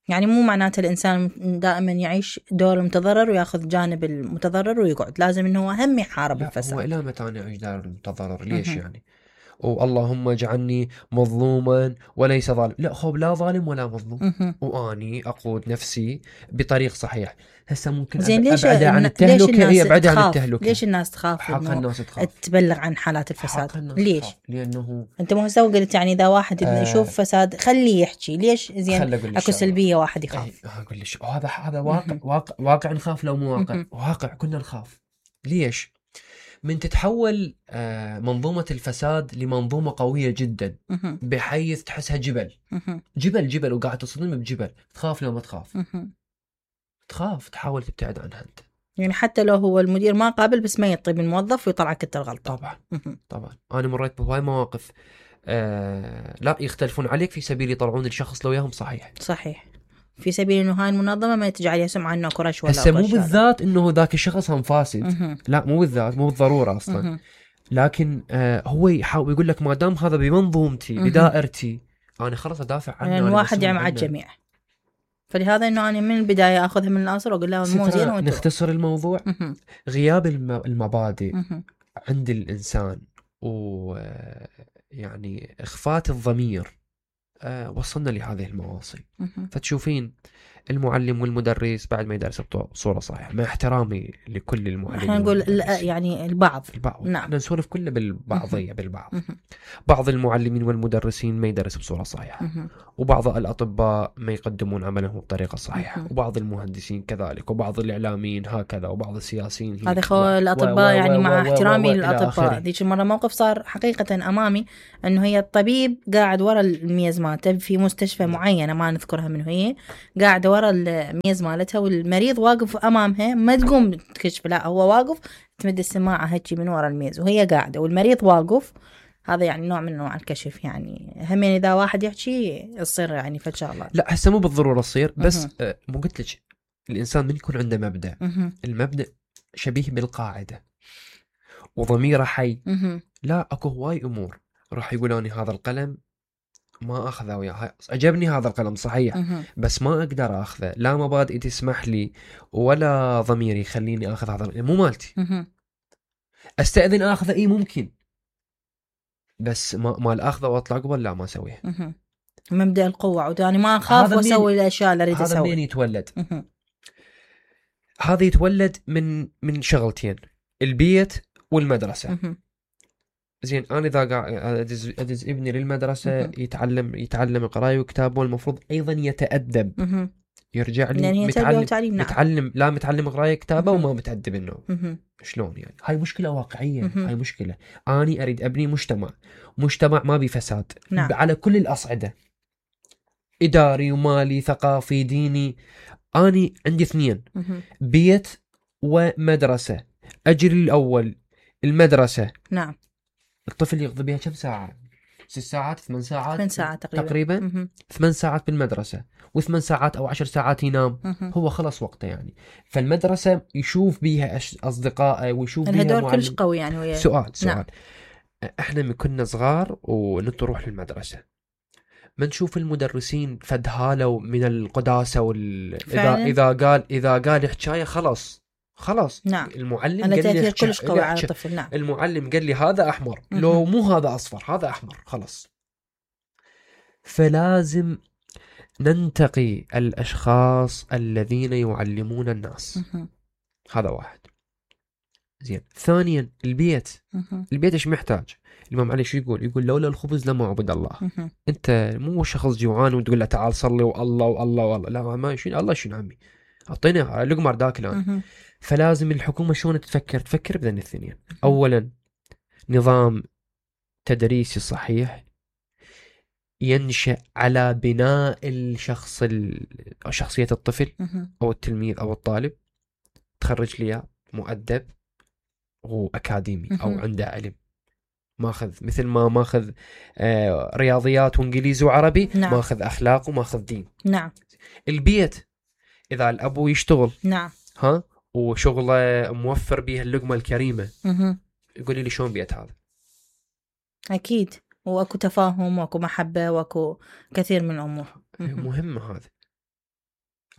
يعني مو معناته الإنسان دائما يعيش دور المتضرر ويأخذ جانب المتضرر ويقعد، لازم إنه هو هم يحارب الفساد. هو إلى متى أنا أعيش دور المتضرر؟ ليش م-م. يعني واللهم اجعلني مظلوما وليس ظالم؟ لا خوب، لا ظالم ولا مظلوم، م-م. وأني أقود نفسي بطريق صحيح. هسه ممكن أبعد عن التهلكة، هي أبعد عن التهلكة. ليش الناس تخاف؟ حق الناس تخاف تبلغ عن حالات الفساد. ليش؟ تخاف. لأنه أنت مو هسه قلت يعني إذا واحد آه يشوف فساد خليه يحكي. ليش؟ زين أكو سلبية واحد يخاف. أقول لك هذا هذا واقع واقع واقع نخاف لو مو واقع م-م. واقع كنا نخاف. ليش؟ من تتحول آه منظومة الفساد لمنظومة قوية جدا م-م. بحيث تحسها جبل م-م. جبل جبل وقاعد تصطدم بجبل، تخاف لو ما تخاف م-م. تخاف تحاول تبتعد عنها أنت. يعني حتى لو هو المدير ما قابل بس ما يطيب الموظف ويطلعك انت الغلطة. طبعا م-م. طبعا أنا مريت بهاي مواقف آه لا يختلفون عليك في سبيل يطلعون الشخص لو ياهم صحيح صحيح، في سبيل انه هاي المنظمه ما تجعل يسمع عنه كرش ولا هسه مو بالذات انه ذاك الشخص هم فاسد م-م. لا مو بالذات، مو بالضروره اصلا م-م. لكن آه هو يحاول يقول لك ما دام هذا بمنظومتي م-م. بدائرتي انا خلاص ادافع عنه. يعني الواحد يعني مع الجميع، فلهذا انه انا من البدايه اخذها من الاصل واقول لها مو زين. نختصر الموضوع م-م. غياب المبادئ م-م. عند الانسان و يعني اخفات الضمير أه وصلنا لهذه المواصل. فتشوفين المعلم والمدرس بعد ما يدرس بصورة صحيحة، مع احترامي لكل المعلمين احنا نقول يعني البعض البعض نعم. احنا نسولف كله بالبعضية بالبعض. بعض المعلمين والمدرسين ما يدرس بصورة صحيحة، وبعض الأطباء ما يقدمون عملهم بطريقة صحيحة، وبعض المهندسين كذلك، وبعض الإعلاميين هكذا، وبعض السياسيين. هذا خو الأطباء و... يعني و... مع و... احترامي للأطباء. ذيك المرة موقف صار حقيقة أمامي أنه هي الطبيب قاعد ورا الميز مالته في مستشفى معينة ما نذكرها منه، هي قاعدة ورا الميز مالتها والمريض واقف أمامها ما تقوم تكشف، لا هو واقف تمد السماعة هيك من ورا الميز وهي قاعدة والمريض واقف. هذا يعني نوع من انواع الكشف. يعني هم يعني اذا واحد يحكي يصير يعني فشغله. لا هسه مو بالضروره تصير، بس آه مو قلت لك الانسان من يكون عنده مبدا، مه. المبدا شبيه بالقاعده وضميره حي. مه. لا اكو هواي امور راح يقولوني هذا القلم ما اخذه وياه، عجبني هذا القلم صحيح مه. بس ما اقدر اخذه، لا مبادئي تسمح لي ولا ضميري يخليني اخذ هذا القلم، مو مالتي. مه. استاذن اخذه اي ممكن، بس ما ما الاخذه واطلع قبل لا ما اسويه. مبدا القوه واني ما اخاف واسوي الاشياء اللي اريد اسويها. هذا منين يتولد؟ مه. هذا يتولد من من شغلتين، البيت والمدرسه. مه. زين انا اذا قاعد ادز, أدز ابني للمدرسه مه. يتعلم يتعلم قرايه وكتابه، والمفروض ايضا يتادب. مه. يرجع لي يعني متعلم نعم. متعلم لا متعلم قرايه كتابه وما متادب انه مه. شلون يعني؟ هاي مشكله واقعيه. مه. هاي مشكله. اني اريد ابني مجتمع مجتمع ما بي فساد نعم. على كل الاصعده، اداري ومالي ثقافي ديني. اني عندي اثنين مه. بيت ومدرسه. اجري الاول المدرسه نعم. الطفل يقضي بها كم ساعه؟ ست ساعات ثمان ساعات ثمان ساعات تقريبا, تقريبا. مه. ثمان ساعات بالمدرسة وثمان ساعات أو عشر ساعات ينام. مه. هو خلص وقته يعني. فالمدرسة يشوف بيها أصدقائه ويشوف بيها معلم. كلش قوي يعني ويا... سؤال سؤال نعم. احنا من كنا صغار ونروح للمدرسة ما نشوف المدرسين فدهالوا من القداسة وال... إذا إذا قال إذا قال حكاية خلاص خلاص نعم. المعلم قال لي كلش قوي على الطفل. نعم. المعلم قال لي هذا أحمر م-م. لو مو هذا أصفر هذا أحمر خلاص. فلازم ننتقي الأشخاص الذين يعلمون الناس. م-م. هذا واحد. زين. ثانيا البيت، مهم. البيت ايش محتاج؟ الإمام علي شو يقول؟ يقول لولا الخبز لما عبد الله. مهم. انت مو شخص جوعان وتقول له تعال صلي والله والله والله، لا ما شنو الله شنو عمي اعطينا لقمه رداك الان. مهم. فلازم الحكومه شلون تفكر؟ تفكر بذن الاثنين. اولا نظام تدريسي صحيح ينشأ على بناء الشخص ال... أو شخصية الطفل مهم. أو التلميذ أو الطالب، تخرج لي مؤدب وأكاديمي أو مهم. عنده علم، ماخذ مثل ما ماخذ آه رياضيات وإنجليزي وعربي، نعم. ماخذ أخلاق وماخذ دين. نعم. البيت إذا الأبو يشتغل نعم. ها وشغله موفر بيه اللقمة الكريمة، مهم. يقولي لي شلون بيت هذا؟ أكيد، واكو تفاهم واكو محبة واكو كثير من الأمور. مهم. مهمة هذا.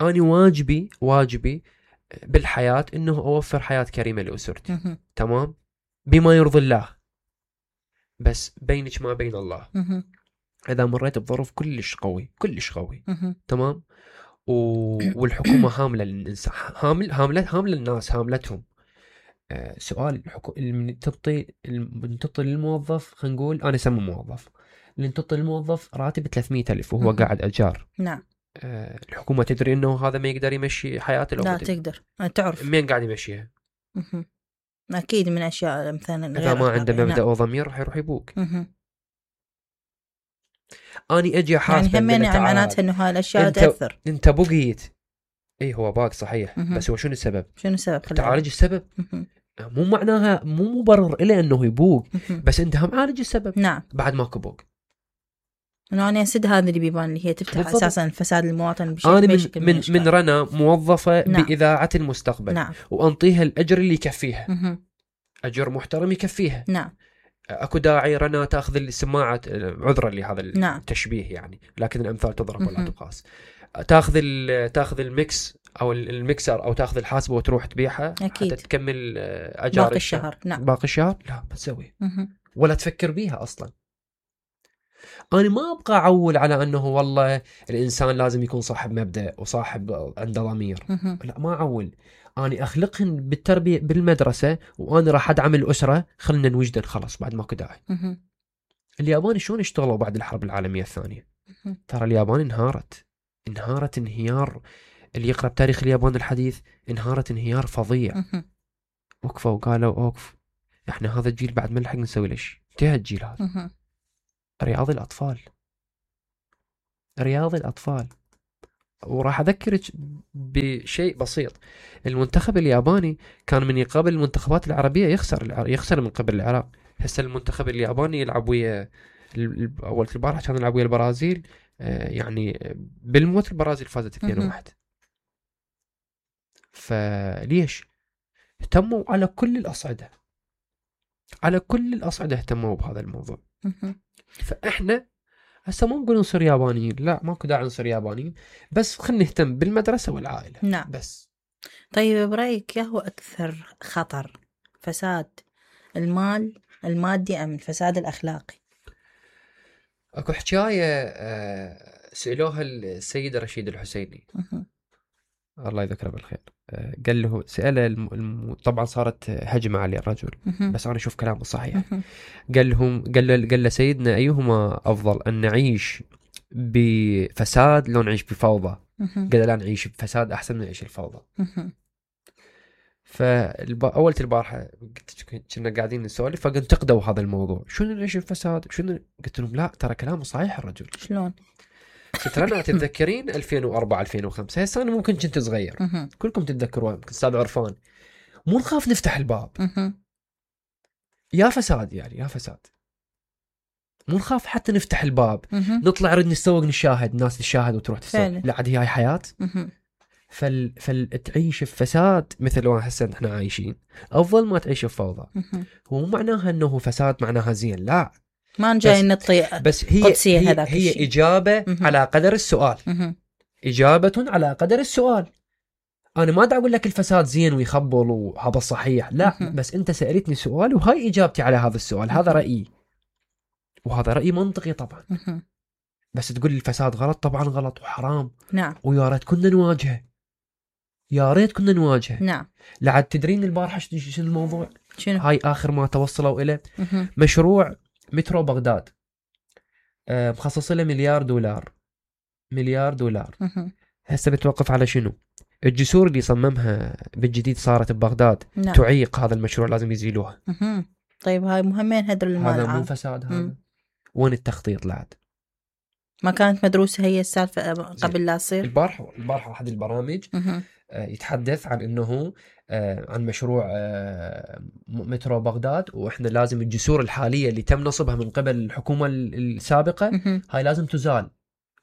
أنا واجبي واجبي بالحياة إنه أوفر حياة كريمة لأسرتي. مهم. تمام، بما يرضي الله، بس بينك ما بين الله. مهم. إذا مريت بظروف كلش قوي كلش قوي مهم. تمام، و... والحكومة هاملة للإنسان، هامل هاملة هاملة الناس، هاملتهم. آه سؤال الحكو... من تعطي من تعطي للموظف، خلينا نقول أنا سمي موظف، اللي تعطي للموظف راتب ثلاثمية ألف وهو مهم. قاعد أجار. نعم. آه الحكومة تدري إنه هذا ما يقدر يمشي حياته لو لا بدأ. تقدر تعرف مين قاعد يمشيها؟ مهم. أكيد من أشياء مثلا إذا ما عنده أخلاقية. مبدأ نعم. وضمير راح يروح يبوك. مهم. أني أجي يعني حاسبة همين يعني معناتها إنه هاي الأشياء أنت- تأثر. أنت بقيت، إيه هو باق صحيح، مهم. بس هو شنو السبب؟ شنو السبب؟ خلينا تعالج السبب، مهم. مو معناها مو مبرر إلى أنه يبوق، مهم. بس أنت هم عالج السبب نعم. بعد ماكو بوق. إنه أنا أسد هذا اللي بيبان اللي هي تفتح بالضبط. أساسا الفساد المواطن بشكل أنا من بشكل من الأشكال. من رنا موظفة نعم. بإذاعة المستقبل، نعم. وأنطيها الأجر اللي يكفيها، مهم. أجر محترم يكفيها. نعم. اكو داعي رنا تاخذ السماعه، عذرا لهذا نعم. التشبيه يعني، لكن الامثال تضرب ولا مهم. تقاس. تاخذ ال- تاخذ الميكس او ال- الميكسر او تاخذ الحاسبه وتروح تبيعها أكيد. حتى تكمل آه، اجار باقي الشهر. نعم. باقي الشهر لا ما تسوي مهم. ولا تفكر بيها اصلا. انا ما ابقى اعول على انه والله الانسان لازم يكون صاحب مبدأ وصاحب عنده ضمير، مهم. لا ما اعول. اني اخلقهن بالتربيه بالمدرسه، وانا راح ادعم الاسره، خلنا نوجدن خلاص بعد ماكو داعي. مهم. اليابان شلون اشتغلوا بعد الحرب العالمية الثانية؟ مهم. ترى اليابان انهارت انهارت انهيار، اللي يقرأ بتاريخ اليابان الحديث انهارت انهيار فظيع. مهم. وقفوا وقالوا اوقف، احنا هذا الجيل بعد ما نلحق نسوي ليش؟ انتهى الجيل هذا. مهم. رياض الأطفال رياض الأطفال. وراح أذكرك بشيء بسيط، المنتخب الياباني كان من يقابل المنتخبات العربية يخسر الع- يخسر من قبل العراق. هسه المنتخب الياباني يلعب ويا ال- ال- أول البارحة كان يلعب ويا البرازيل، آه، يعني بالموت البرازيل فازت اثنين واحد. فليش؟ اهتموا على كل الأصعدة، على كل الأصعدة اهتموا بهذا الموضوع. مهم. فإحنا هسه ما نقول نصير يابانيين، لا ماكو داعي نصير يابانيين، بس خلينا نهتم بالمدرسة والعائلة. نعم. بس طيب برأيك يا هو أكثر خطر، فساد المال المادي أم الفساد الأخلاقي؟ اكو حكاية آه، سألوها السيد رشيد الحسيني مهم. الله يذكره بالخير. آه، قال له سأله الم... الم... طبعا صارت هجمة عليه الرجل، مهم. بس أنا أشوف كلامه صحيح. مهم. قال لهم قال له قال له سيدنا أيهما أفضل، أن نعيش بفساد لو نعيش بفوضى؟ مهم. قال لا نعيش بفساد أحسن من نعيش الفوضى. مهم. فأول البارحة كنا قاعدين نسولف فانتقدوا هذا الموضوع، شنو نعيش بفساد شنو؟ قلت لهم لا ترى كلامه صحيح الرجل. شلون؟ قلت لنا تتذكرين ألفين وأربعة ألفين وخمسة، هسه أنا ممكن كنت صغير مهم. كلكم تتذكرون، يمكن أستاذ عرفان، مو نخاف نفتح الباب مهم. يا فساد، يعني يا فساد مو نخاف حتى نفتح الباب، مهم. نطلع نرد نسوق نشاهد الناس تشاهد وتروح تسوق، فعلا. لا عاد هي هاي حياة. مهم. فال... فالتعيش بفساد مثل ما هسه احنا عايشين افضل ما تعيش بفوضى. مهم. هو مو معناها انه فساد معناها زين، لا، ما جاي بس- نطي. بس هي قدسية هي, هذاك هي الشيء. اجابه مهم. على قدر السؤال، مهم. اجابه على قدر السؤال. انا ما دا اقول لك الفساد زين ويخبل وهذا صحيح، لا، مهم. بس انت سالتني سؤال وهاي اجابتي على هذا السؤال، هذا رايي وهذا راي منطقي طبعا. مهم. بس تقول الفساد غلط، طبعا غلط وحرام، نعم. ويا ريت كنا نواجهه. يا ريت كنا نواجهه. نعم. لعد تدرين البارحة شنو الموضوع؟ شنو؟ هاي آخر ما توصلوا إليه مه. مشروع مترو بغداد، أه مخصص له مليار دولار، مليار دولار. مه. هسه بتوقف على شنو؟ الجسور اللي صممها بالجديد صارت ببغداد. نعم. تعيق هذا المشروع، لازم يزيلوها. مه. طيب هاي مهمين هدر المال هذا العام. مو فساد هذا؟ مم. وين التخطيط لعد؟ ما كانت مدروسة هي السالفة قبل لا تصير؟ البارحة البارحة أحد البرامج مه. آه يتحدث عن إنه آه عن مشروع آه مترو بغداد، وإحنا لازم الجسور الحالية اللي تم نصبها من قبل الحكومة السابقة مه. هاي لازم تزال.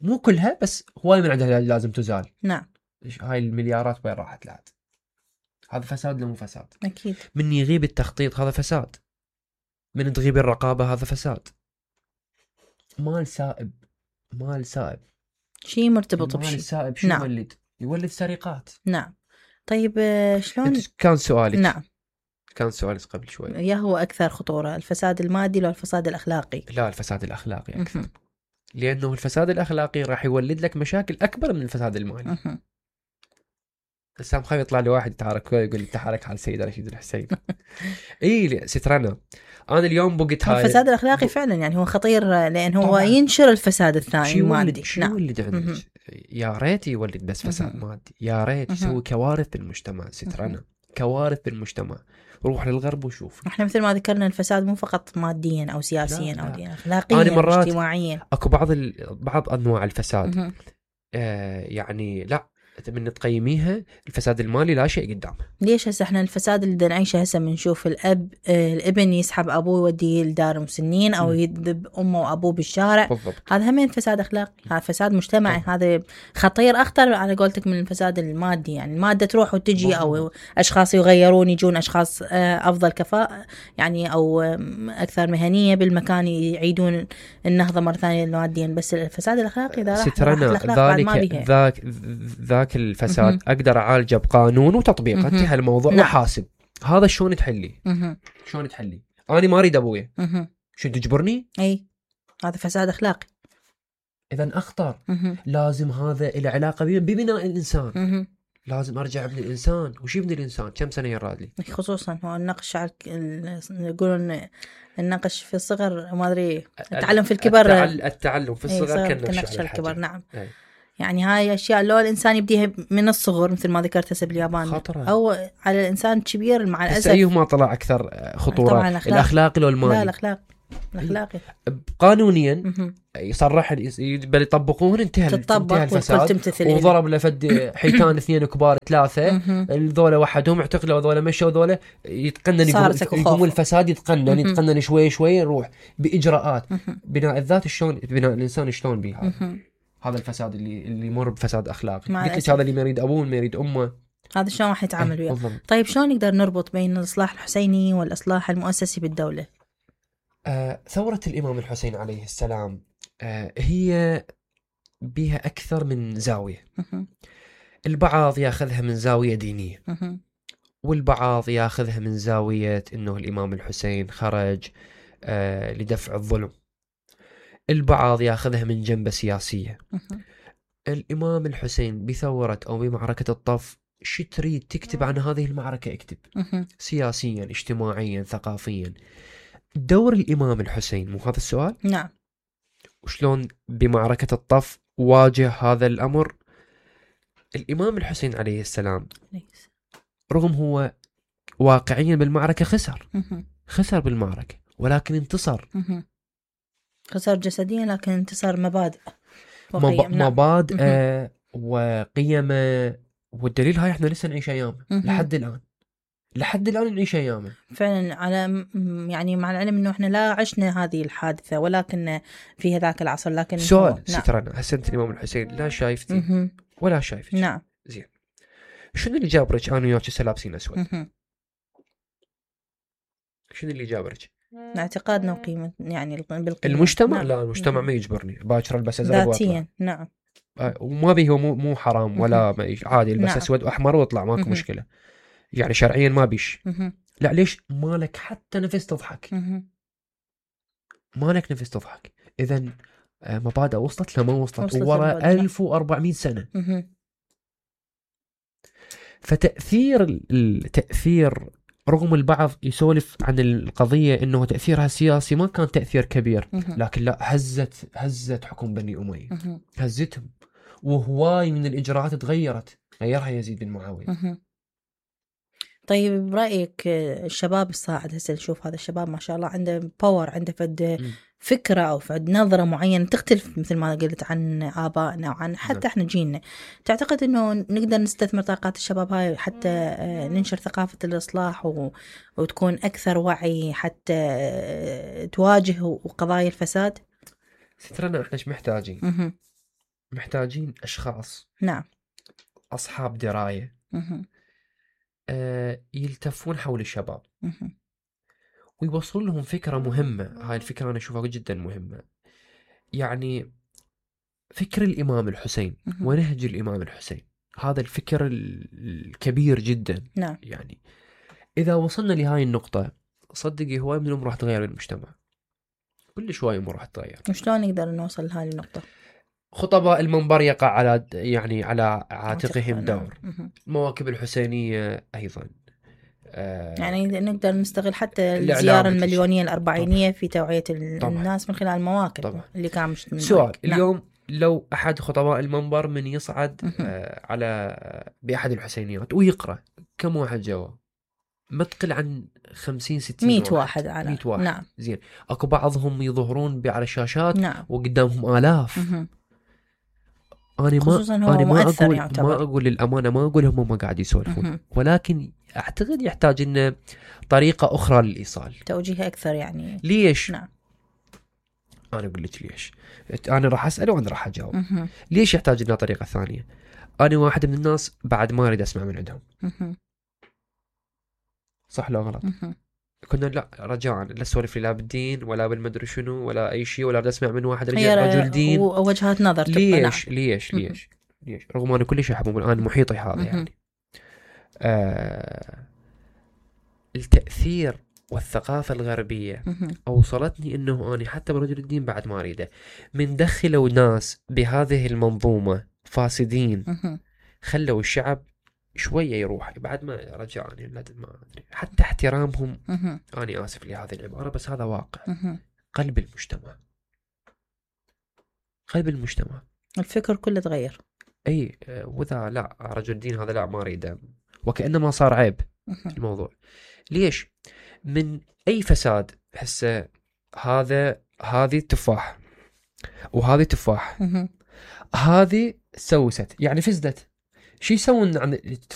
مو كلها بس هواي من عندها لازم تزال. نعم. هاي المليارات وين راحت لعد؟ هذا فساد ولا مو فساد؟ أكيد. من يغيب التخطيط هذا فساد، من تغيب الرقابة هذا فساد. مال سائب، مال سائب، شيء مرتبط مال بشيء. سائب شو نعم. يولد؟ يولد سرقات. نعم. طيب شلون؟ كان سؤالك. نعم. كان سؤالك قبل شوي. يا هو أكثر خطورة، الفساد المادي ولا الفساد الأخلاقي؟ لا، الفساد الأخلاقي أكثر. مه. لأنه الفساد الأخلاقي راح يولد لك مشاكل أكبر من الفساد المالي. مه. هسه خايف يطلع لي واحد يتحرك يقول لي تحرك على السيد رشيد الحسين. اي سترنا انا اليوم بقيت هاي الفساد الأخلاقي فعلا يعني هو خطير، لأن هو طبعاً. ينشر الفساد الثاني شو المادي. يولد شو نعم. يولد عندك؟ مه. يا ريت يولد بس فساد مه. مادي، يا ريت مه. يسوي كوارث بالمجتمع. سترنا كوارث بالمجتمع. روح للغرب وشوف. احنا مثل ما ذكرنا الفساد مو فقط ماديا او سياسيا لا، او لا. دينيا، اخلاقيا أنا مرات اجتماعيا. اكو بعض ال... بعض انواع الفساد مه. آه يعني لا من تقيميها الفساد المالي لا شيء قدامه. ليش هسه احنا الفساد اللي بدنا نعيشه هسه بنشوف الاب آه الابن يسحب ابوه يوديه لدار مسنين او م. يذب امه وابوه بالشارع. بالضبط. هذا همين فساد اخلاقي، هذا فساد مجتمعي. طبعا. هذا خطير اكثر على قولتك من الفساد المادي، يعني الماده تروح وتجي بالضبط. او اشخاص يغيرون يجون اشخاص آه افضل كفاءه يعني او آه اكثر مهنيه بالمكان يعيدون النهضه مره ثانيه ماديا. بس الفساد الاخلاقي اذا راح سترنا ذلك ذاك ذاك الفساد مه. اقدر اعالجه بقانون وتطبيق. انتهى الموضوع. نعم. وحاسب. هذا شلون تحلي؟ مه. شلون تحلي؟ انا ما اريد ابويا، مه. شو تجبرني؟ اي هذا فساد اخلاقي. اذا اخطر. مه. لازم هذا له علاقه ببناء الانسان. مه. لازم ارجع ابن الانسان. وش يبني الانسان؟ كم سنه يراد لي؟ خصوصا هو النقش على يقولون النقش في الصغر ما ادري التعلم في الكبر. التعل... التعلم في الصغر أي كالنقش على الكبر. نعم. أي. يعني هاي اشياء لو الانسان يبديها من الصغر مثل ما ذكرت هسه باليابان خطرة. او على الانسان الكبير مع الاسف. ايهما طلع اكثر خطوره؟ الأخلاق. الاخلاقي لو المالي؟ لا الاخلاق الاخلاقي قانونيا يصرح بل يطبقون انتهى انتهى الفساد. وضرب لفد حيتان اثنين كبار ثلاثه الذولا وحدهم اعتقلوا وذولا مشوا وذولا يتقنن يقوم الفساد يتقنن يتقنن شوي شوي يروح باجراءات بناء الذات. شلون بناء الانسان شلون بها هذا الفساد اللي اللي يمر بفساد اخلاقي؟ قلت لك هذا اللي ما يريد ابوه ما يريد امه هذا شلون راح يتعامل وياه؟ بالضبط. طيب شلون نقدر نربط بين الاصلاح الحسيني والاصلاح المؤسسي بالدوله؟ آه ثورة الإمام الحسين عليه السلام آه هي بها أكثر من زاوية. البعض ياخذها من زاوية دينية، والبعض ياخذها من زاوية إنه الإمام الحسين خرج آه لدفع الظلم. البعض ياخذها من جنبة سياسية. الإمام الحسين بثورة أو بمعركة الطف شو تريد تكتب عن هذه المعركة اكتب، سياسيا اجتماعيا ثقافيا. دور الإمام الحسين مو هذا السؤال؟ نعم. وشلون بمعركة الطف واجه هذا الأمر؟ الإمام الحسين عليه السلام رغم هو واقعيا بالمعركة خسر خسر بالمعركة ولكن انتصر. خسر جسديا لكن انتصر مبادئ مب... نعم. مبادئ آه وقيم. والدليل هاي احنا لسه نعيش أيام لحد الآن لحد الآن نعيش أيامه فعلا. على يعني مع العلم إنه إحنا لا عشنا هذه الحادثة ولكن في هذاك العصر. لكن سؤال نعم. سترنا هسه أنت الإمام الحسين لا شايفتي مه. ولا شايفتك. نعم. زين شنو اللي جابرك أنا وياك هسه لابسين أسود؟ مه. شنو اللي جابرك؟ اعتقادنا وقيمة يعني بالقيمة. المجتمع نعم. لا المجتمع مه. ما يجبرني باكر البس أزرق ذاتيا. نعم. وما به هو مو مو حرام ولا مه. عادي البس نعم. أسود وأحمر وأطلع ماكو مه. مشكلة يعني شرعيا ما بيش. مه. لا ليش مالك حتى نفس تضحك مه. مالك نفس تضحك. إذن مبادئ وصلت لما وصلت, وصلت ورا ألف وأربعمائة سنة. مه. فتأثير التأثير رغم البعض يسولف عن القضية انه تأثيرها سياسي ما كان تأثير كبير، لكن لا، هزت هزت حكم بني أمية، هزتهم، وهواي من الإجراءات تغيرت، غيرها يزيد بن معاوية. طيب برأيك الشباب الصاعد هسه نشوف هذا الشباب ما شاء الله عنده باور، عنده فد فكرة أو فد نظرة معينة تختلف مثل ما قلت عن آبائنا وعن حتى احنا جيلنا. تعتقد انه نقدر نستثمر طاقات الشباب هاي حتى ننشر ثقافة الإصلاح و... وتكون أكثر وعي حتى تواجه قضايا الفساد؟ سترنا احنا ايش محتاجين؟ مه. محتاجين أشخاص نعم أصحاب دراية آه يلتفون حول الشباب مه. ويوصلون لهم فكرة مهمة. هاي الفكرة أنا أشوفها جدا مهمة، يعني فكر الإمام الحسين مه. ونهج الإمام الحسين، هذا الفكر الكبير جدا. نعم. يعني إذا وصلنا لهاي النقطة صدقي هواي من الأمور راح تغير المجتمع، كل شوي أمور راح تغير. وشلون نقدر نوصل لهاي النقطة؟ خطباء المنبر يقع على يعني على عاتقهم نعم. دور، مه. مواكب الحسينية أيضا. آه يعني نقدر نستغل حتى الإعلام الزيارة وكل المليونية الأربعينية طبعا. في توعية طبعا. الناس من خلال المواكب طبعا. اللي كان مش من سؤال نعم. اليوم لو أحد خطباء المنبر من يصعد مه. آه على بأحد الحسينيات ويقرأ، كم واحد جواب؟ ما تقل عن خمسين ستين مية واحد. واحد على مية واحد. نعم. زين، أكو بعضهم يظهرون على الشاشات نعم. وقدامهم آلاف. مه. أنا خصوصا ما هو أنا ما مؤثر أقول يعتبر. ما أقول للأمانة، ما أقول هم ما قاعد يسولفون، مه. ولكن أعتقد يحتاج إنه طريقة أخرى للإيصال، توجيه أكثر يعني. ليش؟ نعم. أنا أقول لك ليش. أنا راح أسأل وأنا راح أجاوب. مه. ليش يحتاج لنا طريقة ثانية؟ أنا واحد من الناس بعد ما أريد أسمع من عندهم. مه. صح لا غلط؟ مه. كنا لا رجاء لا سولف لي لا بالدين ولا بالمدري شنو ولا أي شيء، ولا أسمع من واحد رجل, رجل دين ووجهات نظر. ليش؟ نعم. ليش ليش ليش رغم أنا كل شيء أحبه الآن محيطي هذا. يعني آه التأثير والثقافة الغربية أوصلتني أنه أنا حتى برجل الدين بعد ما أريده من دخلوا ناس بهذه المنظومة فاسدين، خلوا الشعب شوية يروح بعد ما رجع. يعني ما أدري حتى احترامهم. أنا آسف لهذه العبارة بس هذا واقع. قلب المجتمع، قلب المجتمع، الفكر كله تغير. أي وذا لا رجل الدين هذا لا ما أريده، وكأنما صار عيب الموضوع. ليش؟ من أي فساد هسه هذا هذه تفاح وهذه تفاح، هذه سوست يعني فزدت، شو يسوون عن